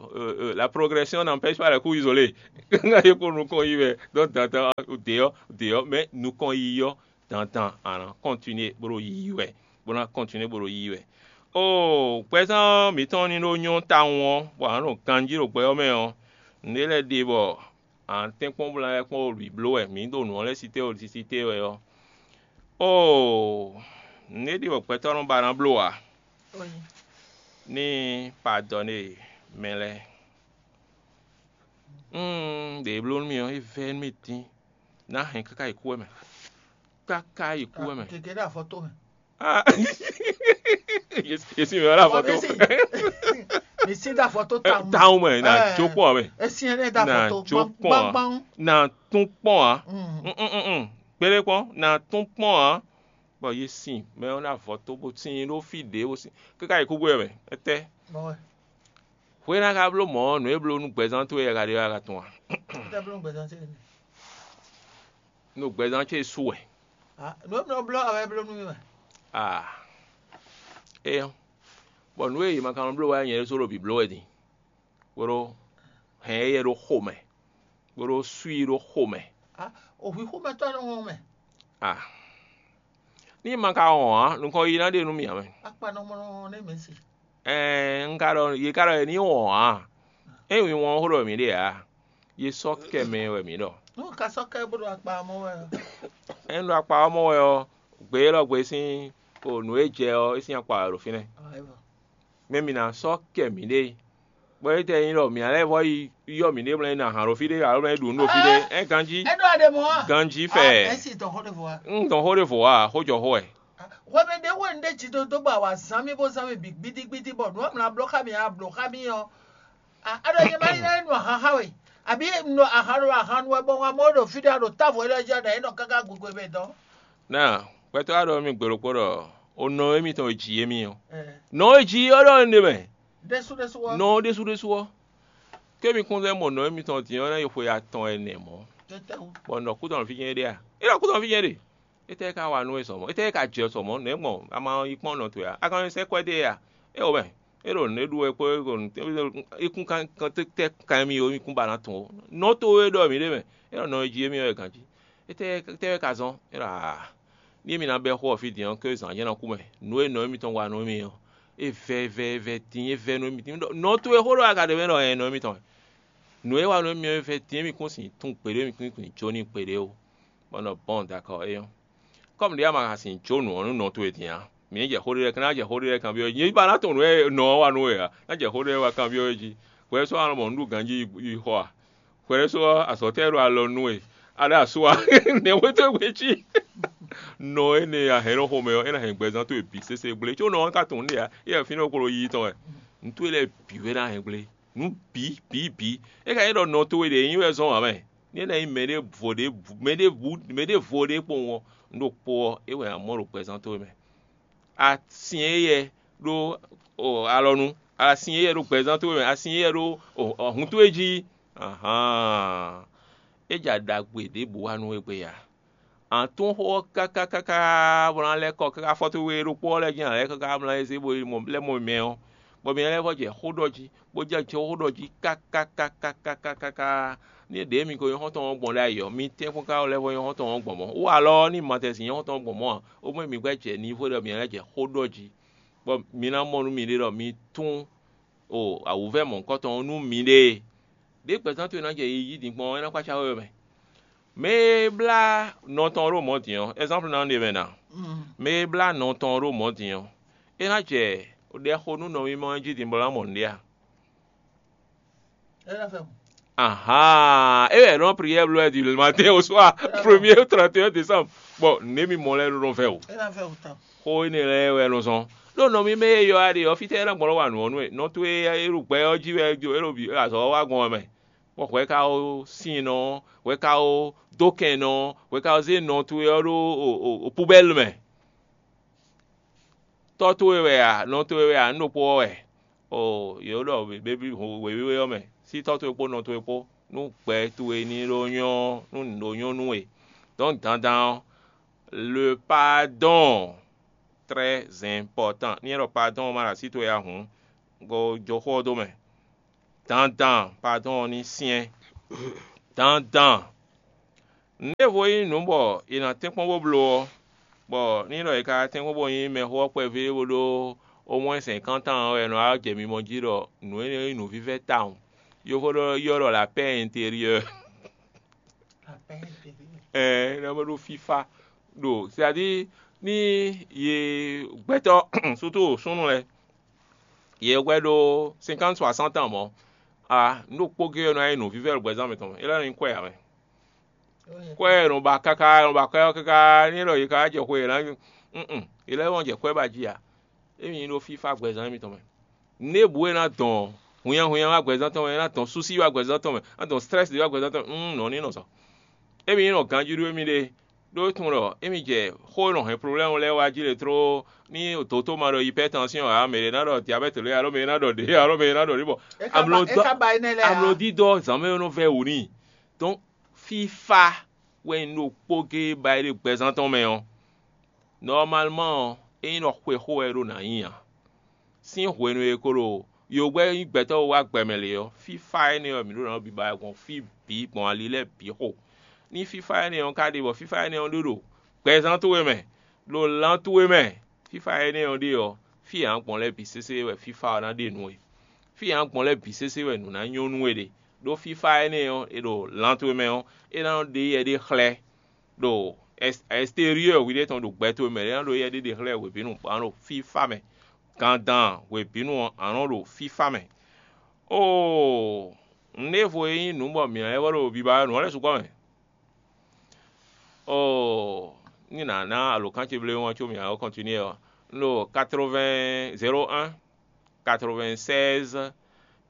la progression n'empêche pas les coups isolés. Ŋa yě kó nukɔn yi wɛ, donc dandan ɖě ɔ́ ɖě ɔ́ mɛ nukɔn yi ɔ́ dandan a nǎ continuer bó ɖo yiyi wɛ, bó ná continuer bó ɖo yiyi wɛ. O gbɛzán mǐtɔn ní ɖó nyɔ́ tawun ɔ́, bɔ a nǎ ɖo ganjí ɖo gbɛ ɔ́ mɛ ɔ́, nǔɖé lɛ́ɛ ɖe bɔ a nǎ tɛ́nkpɔ́n bó ná lɛ́ kpɔ́n ɖo bǐ bló wɛ, mǐ ɖo nǔ ɔ́ lɛ́ɛ sí té ɖo sisitée wɛ ɔ́. Oo, nǔɖé ɖi wɛ gbɛtɔ́ nɔ ba ná bló ǎ, ní padɔn e mɛ lɛ́ɛ. Ɖě e bló nú mì ɔ́, é vɛ́ nú mì dín, ná hɛn káká yi kú wɛ mɛ, káká yi kú wɛ mɛ. Gěgé ɖo afɔtó mɛ. Ah, yesi mi wala foto. Misi da foto taŋ. Taŋ mɛ na jo kpɔn mɛ. Esi ne da na foto jo kpɔn gbangban. Na tún kpɔn a. Mm. Mm, mm, mm, mm. Gbélé kpɔn na tún kpɔn a. Bɔ yesi mɛ na foto bó sin ɖó fi ɖé bó sin. Kíkà yìí kúgbó yɛ mɛ. Etɛ. Bɔwɛ. Hwena ka bló mɔ nǔ e bló nú gbɛzán towe yɛ ka ɖe wá ka tún a. Tɛ bló gbɛzán towe. Nú gbɛzán ce su wɛ. Ah, nǔ e bló bló awɛ bló nú mì wɛ. Ah. Eyɔn. Bɔ nǔ e yě ma ka nɔ bló wɛ nyɛ ɖésú ɖo bǐ bló wɛ din. Bó ɖó hɛn éyɛ́ ɖó xomɛ, bó ɖó sú i ɖó xomɛ. Ah, òhwi xomɛtɔ́ nɔ wɔn mɛ. Ah. Ní ma ka wɔn ǎ, nukɔn yi ná ɖe nú mì ǎ mɛ. Akpa nɔ mɔ nɔ nɛ mɛ si. Ɛɛ, un ka ɖɔ yě ka ɖɔ yě ní wɔn ǎ. É nyí wɔn xó ɖɔ mǐ ɖe ǎ. Yě sɔ́ kɛ mɛ wɛ mǐ ɖɔ. Nú ka sɔ́ kɛ bó ɖo akpa mɔ wɛ ɔ́. É ɖo akpa ɔ́ mɔ wɛ ɔ́, gbe élɔ́ gbe sín o nǔ e jɛ ɔ́, é sín akpa wɛ ɖo fínɛ́. Mɛ mi ná sɔ́ kɛ mǐɖée. Bɔ é tɛ nyí ɖɔ mǐ lɛ́ vɔ yi yɔ mǐɖée mlɛ́ ná hǎn ɖo fí ɖé alo mlɛ́ ɖu nǔ ɖo fí ɖé. Ɛ ganjí. É ɖo aɖe mɔ a? Ganjí fɛ. Ɛ si tɔn xó ɖe vɔ a? Un tɔn xó ɖe vɔ a, xó jɔ xó wɛ. Hwɛmɛ ɖé wɛ un ɖe jí dó dó bɔ awǎ zán mì bó zán mì bǐ gbídígbídí bɔ nǔ e mlá bló xá mì a blǒ xá mì ɔ́. A ɖɔ nyɛ má nyí ná nu ahan xá we, àbí nu ahan ɖo ahan nu wɛ bɔ ŋa mɔ ɖo fí ɖé a ɖo távo élɔ́ jí a ɖɔ é nɔ káká gogwe mɛ dɔn. Náà, gbɛtɔ́ a ɖɔ mì gbe ɖokpó ɖɔ o nɔ émítɔn e jǐ émí ɔ́. Nɔ e jǐ ɔ́ ɖɔ énɛ́ mɛ. Ɖésú ɖésú ɔ́. Nɔ ɖésú ɖésú ɔ́. Kémi kún lɛ́ mɔ nɔ émítɔn din ɔ́ ná yi xwe atɔn ɛnɛ mɔ̌. Tɛtɛwu. Bɔ nɔ kútɔn fí jɛ́n é ɖe a? É ɖɔ kútɔn fí jɛ́n ɖe. Étɛ́ ka wa nú we sɔ mɔ̌? Étɛ́ ka jɛ sɔ mɔ̌? Nɛ̌ gbɔn a ma yi kpɔ́n nɔ towe a? A ka nɔ sɛ́ kwɛ́ dó e a? É o mɛ. É ɖo nǔ e ɖu wɛ kpó é ɖo nǔ é kún kan kan tɛ́ kan mì ó, mì kún ba ná tun ó. Nɔ towe ɖɔ mǐ ɖe mɛ. É ɖɔ nɔ e jí émí wɛ ganjí. Étɛ́ étɛ́ wɛ ka zɔ́n? É ɖɔ aa. Ní émí ná bɛ́ xó ɔ́ fí din ɔ́, ké zǎn jɛ́n ná kú mɛ. Nǔ e nɔ émítɔn wa nú émí ɔ́, é vɛ́ vɛ́ vɛ́ din é vɛ́ nú émí. Nɔ towe xó ɖɔ a ka ɖe mɛ ɖɔ ɛ nɔ émítɔn wɛ. Nǔ e wa nú émí ɔ́, é vɛ́ din émí kún sin tún kpeɖé, émí kún sin jó n'i kpeɖé ó. Bɔ nɔ bɔn dakɔ é nyɔ́. Kɔ́mu ɖě a ma ka sin jó nǔ ɔ́ nú nɔ towe din ǎ, mǐ ní jɛ xó ɖé lɛ́ɛ kan, ná jɛ xó ɖé lɛ́ɛ kan byɔ́ nyí ba ná tunwun nǔ e nɔ ɔ́ wa nú we ǎ, ná jɛ xó ɖé lɛ́ɛ wá kan byɔ́ we jí. Hwɛ sɔ́ alɔ mɔ nǔ ɖu ganjí yi xɔ a? Hwɛ sɔ́ azɔ̌ tɛ́ ɖo alɔ nú we, a ɖo asú a? Nɛ̌ hwetɔ́ gbe cí? Nɔ énɛ́ a hɛn nɔ xomɛ ɔ́, é ná hɛn gbɛzán towe bǐ sésé gblé, có nɔ ɔ́ ka tunwun nú ɖě ǎ, é wɛ fínɛ́ kplɔ́ yíyí tɔn wɛ. Nǔ towe lɛ́ɛ bǐ wɛ ná hɛn gblé, nǔ bǐ bǐ bǐ. É ka nyí ɖɔ nɔ towe ɖě nyí wɛ zɔ́n ǎ mɛ. Ní é ná nyí mɛɖěvo ɖě mɛɖěvo mɛɖěvo ɖě kpowun ɔ́, un ɖo kpo ɔ́, é wɛ a mɔ ɖo gbɛzán towe mɛ. Asin éyɛ́ ɖó alɔnu, asin éyɛ́ ɖó gbɛzán towe mɛ, asin éyɛ́ ɖó hun towe jí. Ahan! É ja ɖagbe ɖěbǔ wa nú we gbe ya. Ǎ tún xó ɔ́ káká káká bó ná lɛ́ kɔ káká fɔ́tú we ɖokpó ɔ́ lɛ́ɛ jí ǎ lɛ́ káká bó ná zé bó yi mɔ lɛ́ mɔ mɛ ɔ́, bɔ mi lɛ́ vɔ jɛ xó ɖɔ jí, bó jɛ xó ɖɔ jí káká káká káká káká. Ní ɖěe mi ko nyí xɔ́ntɔn ɔ́ gbɔn ɖ'ayǐ ɔ́, mi tɛ́nkpɔ́n ka lɛ́ vɔ nyí xɔ́ntɔn ɔ́ gbɔn mɔ̌? Wú alɔ ɔ́ ní ma tɛ́ sin nyí xɔ́ntɔn ɔ́ gbɔn mɔ̌ ǎ, ó mɔ mi gbɛ́ jɛ nivo ɖɔ mi lɛ́ jɛ xó ɖɔ jí, bɔ mi ná mɔ nú miɖée ɖɔ mi tún o awǔvɛ́ mɔ̌hunkɔtɔn ɔ́ nú miɖée. Ɖěe gbɛzán towe ná jɛ yiyi din gbɔn ɔ́, é ná kpácá we mɛ. Mɛ e blá nɔ tɔn ɖo mɔ̌ din ɔ́, ɛ́zánpu ná ɖe mɛ ná. Mɛ e blá nɔ tɔn ɖo mɔ̌ din ɔ́, é ná jɛ ɖɛ xo nú nɔmimɔ ɔ́ jí din bɔ é ná mɔ nǔɖé a? Ahan, é wɛ nɔ prière bló wɛ du matin au soir, premier au trente et un décembre. Bon, nɛ̌ mi mɔ lɛ́ɛ ɖo nɔ vɛ o. Xó énɛ́ lɛ́ɛ wɛ nɔ zɔn. Ɖó nɔ mi mɛ e yɔ a ɖe ɔ́, fítɛ́ é ná gbɔn nɔ wa nǔ ɔ́ nú we? Nɔ towe e ɖo gbɛ ɔ́ jí wɛ é ɖo bǐ azɔ̌ ɔ́ wa gbɔn wɛ mɛ. Bɔ hwɛ ka ó sin nɔ, hwɛ ka ó dó kɛn nɔ, hwɛ ka ó zé nɔ towe ɔ́ ɖó o o o pubɛ́lu mɛ. Tɔ́ towe wɛ a, nɔ towe wɛ a, nǔ ɖokpó ɔ́ wɛ. O yě ɖɔ bébí wěwé ɔ́ mɛ, sí tɔ́ towe kpó nɔ towe kpó. nú gbɛ towe ní ɖó nyɔ́ nú nǔ ɖó nyɔ́ nú we. Donc dandan ɔ́, le pardon très important. Ní é ɖɔ pardon ɔ́ ma ɖo así towe ǎ hǔn, bo jó xó ɔ́ dó mɛ. Dandan pardon ɔ́ ní syɛ́n. Dandan nǔɖévo nyí nǔ bɔ è nǎ tɛ́nkpɔ́n bó bló ɔ́, bɔ ní ɖɔ è ka tɛ́nkpɔ́n bó nyí mɛxó ɔ́ kpɛví bó ɖó au moins cinquante ans ɔ́, è nɔ wá jɛ mimɔ jí ɖɔ nǔ énɛ́ nyí nǔvívɛ́ tawun. Yovó ɖɔ ylɔ́ ɖɔ la paix intérieure. Ɛɛ, é ná bó ɖó fífá ɖo, c'est-à-dire ní yě gbɛtɔ́ surtout súnnu lɛ́ɛ, yě hwɛ ɖó cinquante soixante ans mɔ̌, a nǔ ɖokpó géé ɔ́ nɔ nyí nǔvívɛ́ ɖo gbɛzán mǐtɔn mɛ, é lɛ́ nɔ nyí kwɛ́ ǎ mɛ. Kwɛ́ e nɔ ba káká, nɔ ba kwɛ́ ɔ́ káká, ní é ɖɔ yě ka wá jɛ xwe yě ná, mm, yě lɛ́ wɔn jɛ kwɛ́ ba jí ǎ. Émí nyí ɖó fífá gbɛzán émítɔn mɛ. Nǔɖé bǔ e ná dɔn hunnyahunnya wá gbɛzán tɔn mɛ, é ná dɔn súsí wá gbɛzán tɔn mɛ, é ná dɔn stress ɖé wá gbɛzán tɔn mɛ, un nɔ ní nɔ zɔ. Émí nyí nɔ ganjí ɖó émí ɖe, ɖó é tunwun ɖɔ émí jɛ xó e nɔ hɛn problème lɛ́ɛ wá jí lě tló, ní dǒtó ma ɖɔ hypertension ǎ, mɛ ɖě ná ɖɔ diabète lě alo mɛ ɖě ná ɖɔ ɖě alo mɛ ɖě ná ɖɔ ɖě bɔ amlɔ dɔ amlɔ dídɔ zǎnmɛ nɔ vɛ wǔ n'i. Donc fífá wɛ un ɖo kpó géé ba é ɖo gbɛzán tɔn mɛ ɔ́, normalement ɔ́, é nyí ɖɔ xwexó wɛ é ɖo nǎ nyí ǎ. Sín hwenu e ko ɖo yogbɛ́ nyí gbɛtɔ́ wá gbɛ mɛ lě ɔ́, fífá énɛ́ ɔ́, mǐ ɖo nǎ ɖo biba wɛ gbɔn fí bǐ gbɔn ali lɛ́ɛ bǐ xo. Ní fífá énɛ́ ɔ́ ka ɖe bɔ fífá énɛ́ ɔ́ ɖó ɖo gbɛzán towe mɛ, ɖo lan towe mɛ, fífá énɛ́ ɔ́ ɖe ɔ́, fí e a nǎ gbɔn lɛ́ɛ bǐ sésé wɛ fífá ɔ́ ná ɖe nú we. Fí e a nǎ gbɔn lɛ́ɛ bǐ sésé wɛ nǔ ná nyɔ́ nú we ɖe, ɖó fífá énɛ́ ɔ́, e ɖo lan towe mɛ ɔ́, é ná nɔ ɖe yɛ ɖé xlɛ́ ɖo extérieur hwiɖée tɔn ɖo gbɛ towe mɛ, é ná ɖo yɛ ɖé ɖe xlɛ́ hwebǐnu, bɔ a nɔ ɖo fífá mɛ. Gandan hwebǐnu ɔ́, a nɔ ɖo fífá mɛ. Oo, nǔɖévo e nyí nǔ bɔ mǐ lɛ́ vɔ ɖo biba nǔ ɔ́ lɛ́ɛ sukpɔ́ mɛ. Oo, ní nǎ ná alǒkan ce bléwún ɔ́ có mǐ ná ko kɔntinué ɔ́, un ɖo quatre-vingts zéro un quatre-vingt-seize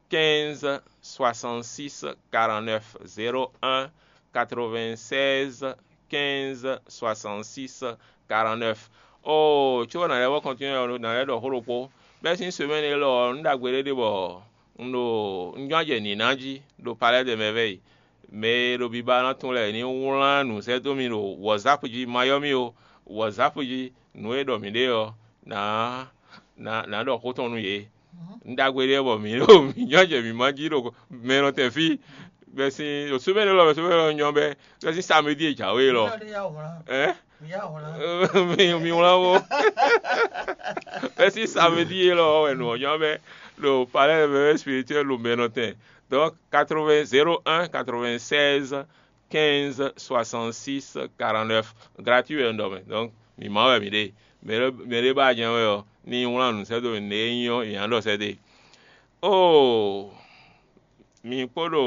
quinze soixante-six quarante-neuf, zéro un quatre-vingt-seize quinze soixante-six quarante-neuf. Oo, có nǎ lɛ́ vɔ kɔntinué ɔ́, nǎ lɛ́ ɖɔ xó ɖokpó. Bɛ́ sín semɛ́ni élɔ́ ɔ́, nǔ ɖagbe ɖé ɖe bɔ un ɖo un jɔ́n jɛ nǐ ná jí ɖo Palais des Merveilles. Mɛ e ɖo biba ná tun lɛ́ɛ ní wlán nǔ sɛ́ dó mì ɖo WhatsApp jí, ma ylɔ́ mì ó, WhatsApp jí, nǔ e ɖɔ mǐ ɖe ɔ́, nǎ nǎ nǎ ɖɔ xó tɔn nú yě. Un ɖagbe ɖé bɔ mǐ ɖo mǐ nyɔ́ jɛ mǐ ma jí ɖo mɛ nɔ tɛn fí. Bɛ́ sín ɖo sóbɛ́ ɖé lɔ, sóbɛ́ lɔ nyɔ́ bɛ́, bɛ́ sín samedi e jǎwe lɔ. Ɛ? Mi wlán wo. Bɛ́ sín samedi e lɔ wɛ nǔ ɔ́ nyɔ́ bɛ́ ɖo palais de bébé spirituel ɖo mɛ nɔ tɛn. Donc quatre-vingts zéro un quatre-vingt-seize quinze soixante-six quarante-neuf, gratuit wɛ un ɖɔ mɛ. Donc mǐ ma wɛ mǐ ɖe. Mɛ ɖé mɛ ɖé ba jɛ́n wɛ ɔ́, ní wlán nǔ sɛ́ dó mì, nǔ e nyí ɔ́, yě ná ɖɔ sɛ́ dó e. Oo, mi kpo ɖo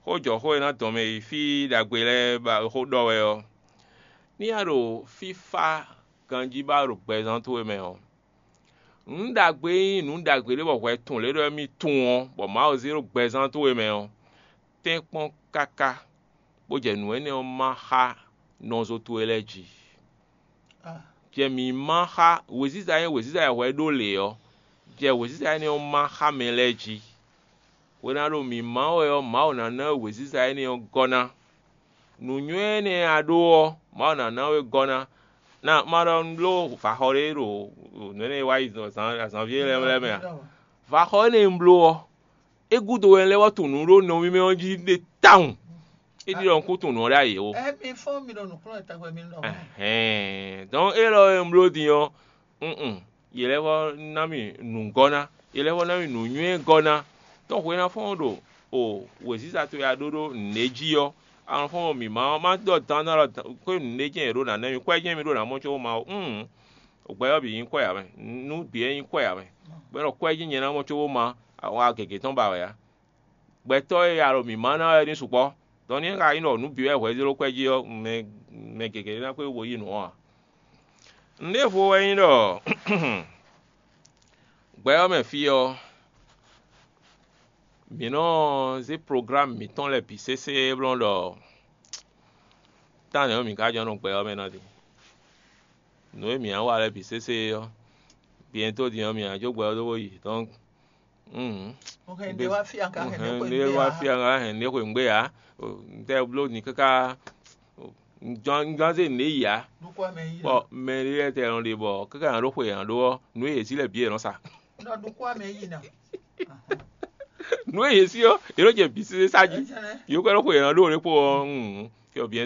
xójɔxó e ná dɔn mɛ yi fí ɖagbe lɛ́ɛ ba xó ɖɔ wɛ ɔ́, ní a ɖo fífá ganjí ba ɖo gbɛzán towe mɛ ɔ́, nǔ ɖagbe e nyí nǔ ɖagbe ɖé bɔ hwɛ tun lě ɖɔ émí tunwun ɔ́, bɔ Mawu zé ɖo gbɛzán towe mɛ ɔ́, tɛ́nkpɔ́n káká, bó jɛ nǔ énɛ́ ɔ́ má xá nɔzo towe lɛ́ɛ jí. Jɛ mǐ má xá wěziza e wěziza e hwɛ ɖó lě ɔ́, jɛ wěziza énɛ́ ɔ́ má xá mɛ lɛ́ɛ jí. Hwena ɖo mǐ má wɛ ɔ́, Mawu ná ná we wěziza énɛ́ ɔ́ gɔ́ ná. Nǔnywɛ́ énɛ́ e a ɖó ɔ́, Mawu ná ná we gɔ́ ná. Ná má ɖɔ un bló vaxɔ ɖé ɖo nǔ énɛ́ e wá yi zǎn- azǎnví lɛ́ɛ lɛ́ɛ mɛ a? Vaxɔ énɛ́ e un bló ɔ́, é gúdo wɛ un lɛ́ wá tunwun nǔ ɖó nɔví mɛ ɔ́ jí ɖe tawun. É ɖi ɖɔ un kún tunwun nǔ ɔ́ ɖ'ayǐ ó. Ɛ mi fɔ́n mi ɖo nǔkplɔ́n e tɛgbɛ mi ɖɔ. Ɛhɛn. Donc élɔ́ e un bló din ɔ́, un yě lɛ́ vɔ ná mì nǔgɔ́ ná, yě lɛ́ vɔ ná mì nǔnywɛ́ gɔ́ ná. Tɔ́n hwe ná fɔ́n ɖo o wěziza towe a ɖó ɖó nǔɖé jí ɔ́, a nɔ fɔ́n ɖo mǐ ma ɔ́, má ɖɔ dandan ɖɔ xwé nǔɖé jɛ́n è ɖó ná nɛ́ mì, kwɛ́ jɛ́n mi ɖó ná mɔ có má ó. Un gbɛ ɔ́ bǐ nyí kwɛ́ ǎ mɛ, nú bǐ wɛ nyí kwɛ́ ǎ mɛ. Bɔ é nɔ kwɛ́ jí nyɛ ná mɔ có má, a wa gěgé tɔn ba wɛ ǎ. Gbɛtɔ́ e alɔ mǐ ma ná wɛ ní sukpɔ́. Dɔn ní é ka nyí ɖɔ nǔ bǐ wɛ hwɛ zé ɖó kwɛ́ jí ɔ́, mɛ mɛ gěgé ná kpé bo yí nǔ ɔ́ ǎ. Nǔɖévo wɛ nyí ɖɔ gbɛ ɔ́ mɛ fí ɔ́, mǐ nɔ zé plogámu mǐtɔn lɛ́ɛ bǐ sésé blɔ́ ɖɔ tánɛ̌ ɔ́ mǐ ka jɔ́n nɔ gbɛ ɔ́ mɛ ná din. Nǔ e mǐ nǎ wa lɛ́ɛ bǐ sésé ɔ́, bientôt din ɔ́, mǐ ná jó gbɛ ɔ́ dó bó yi. Donc Mm. Hɛn ɖe wá fia ka hɛn Hɛn ɖe ne wá xwe fia ŋa hɛn ne xwe ŋgbé ya. Ntɛ bló ni kaka. Ŋgbɔn ŋgbɔn se ne yi ya. Ɖokú ame yi. Bɔ mɛ ɖé lɛ́ɛ tɛ nɔ ɖe bɔ kaka nɔ ɖó xwe yɛn ɖó ɔ́, nǔ e yě sí lɛ bǐ yě nɔ sa. Nɔ ɖokú ame yi na. Nǔ e yě sí ɔ́, yě nɔ jɛ bǐ sésé sa jí. Ɛjɛnɛ. Yě kɔ ɖó xwe yɛn ɖó ɖé kpó ɔ́. Mm. Fiɔ bien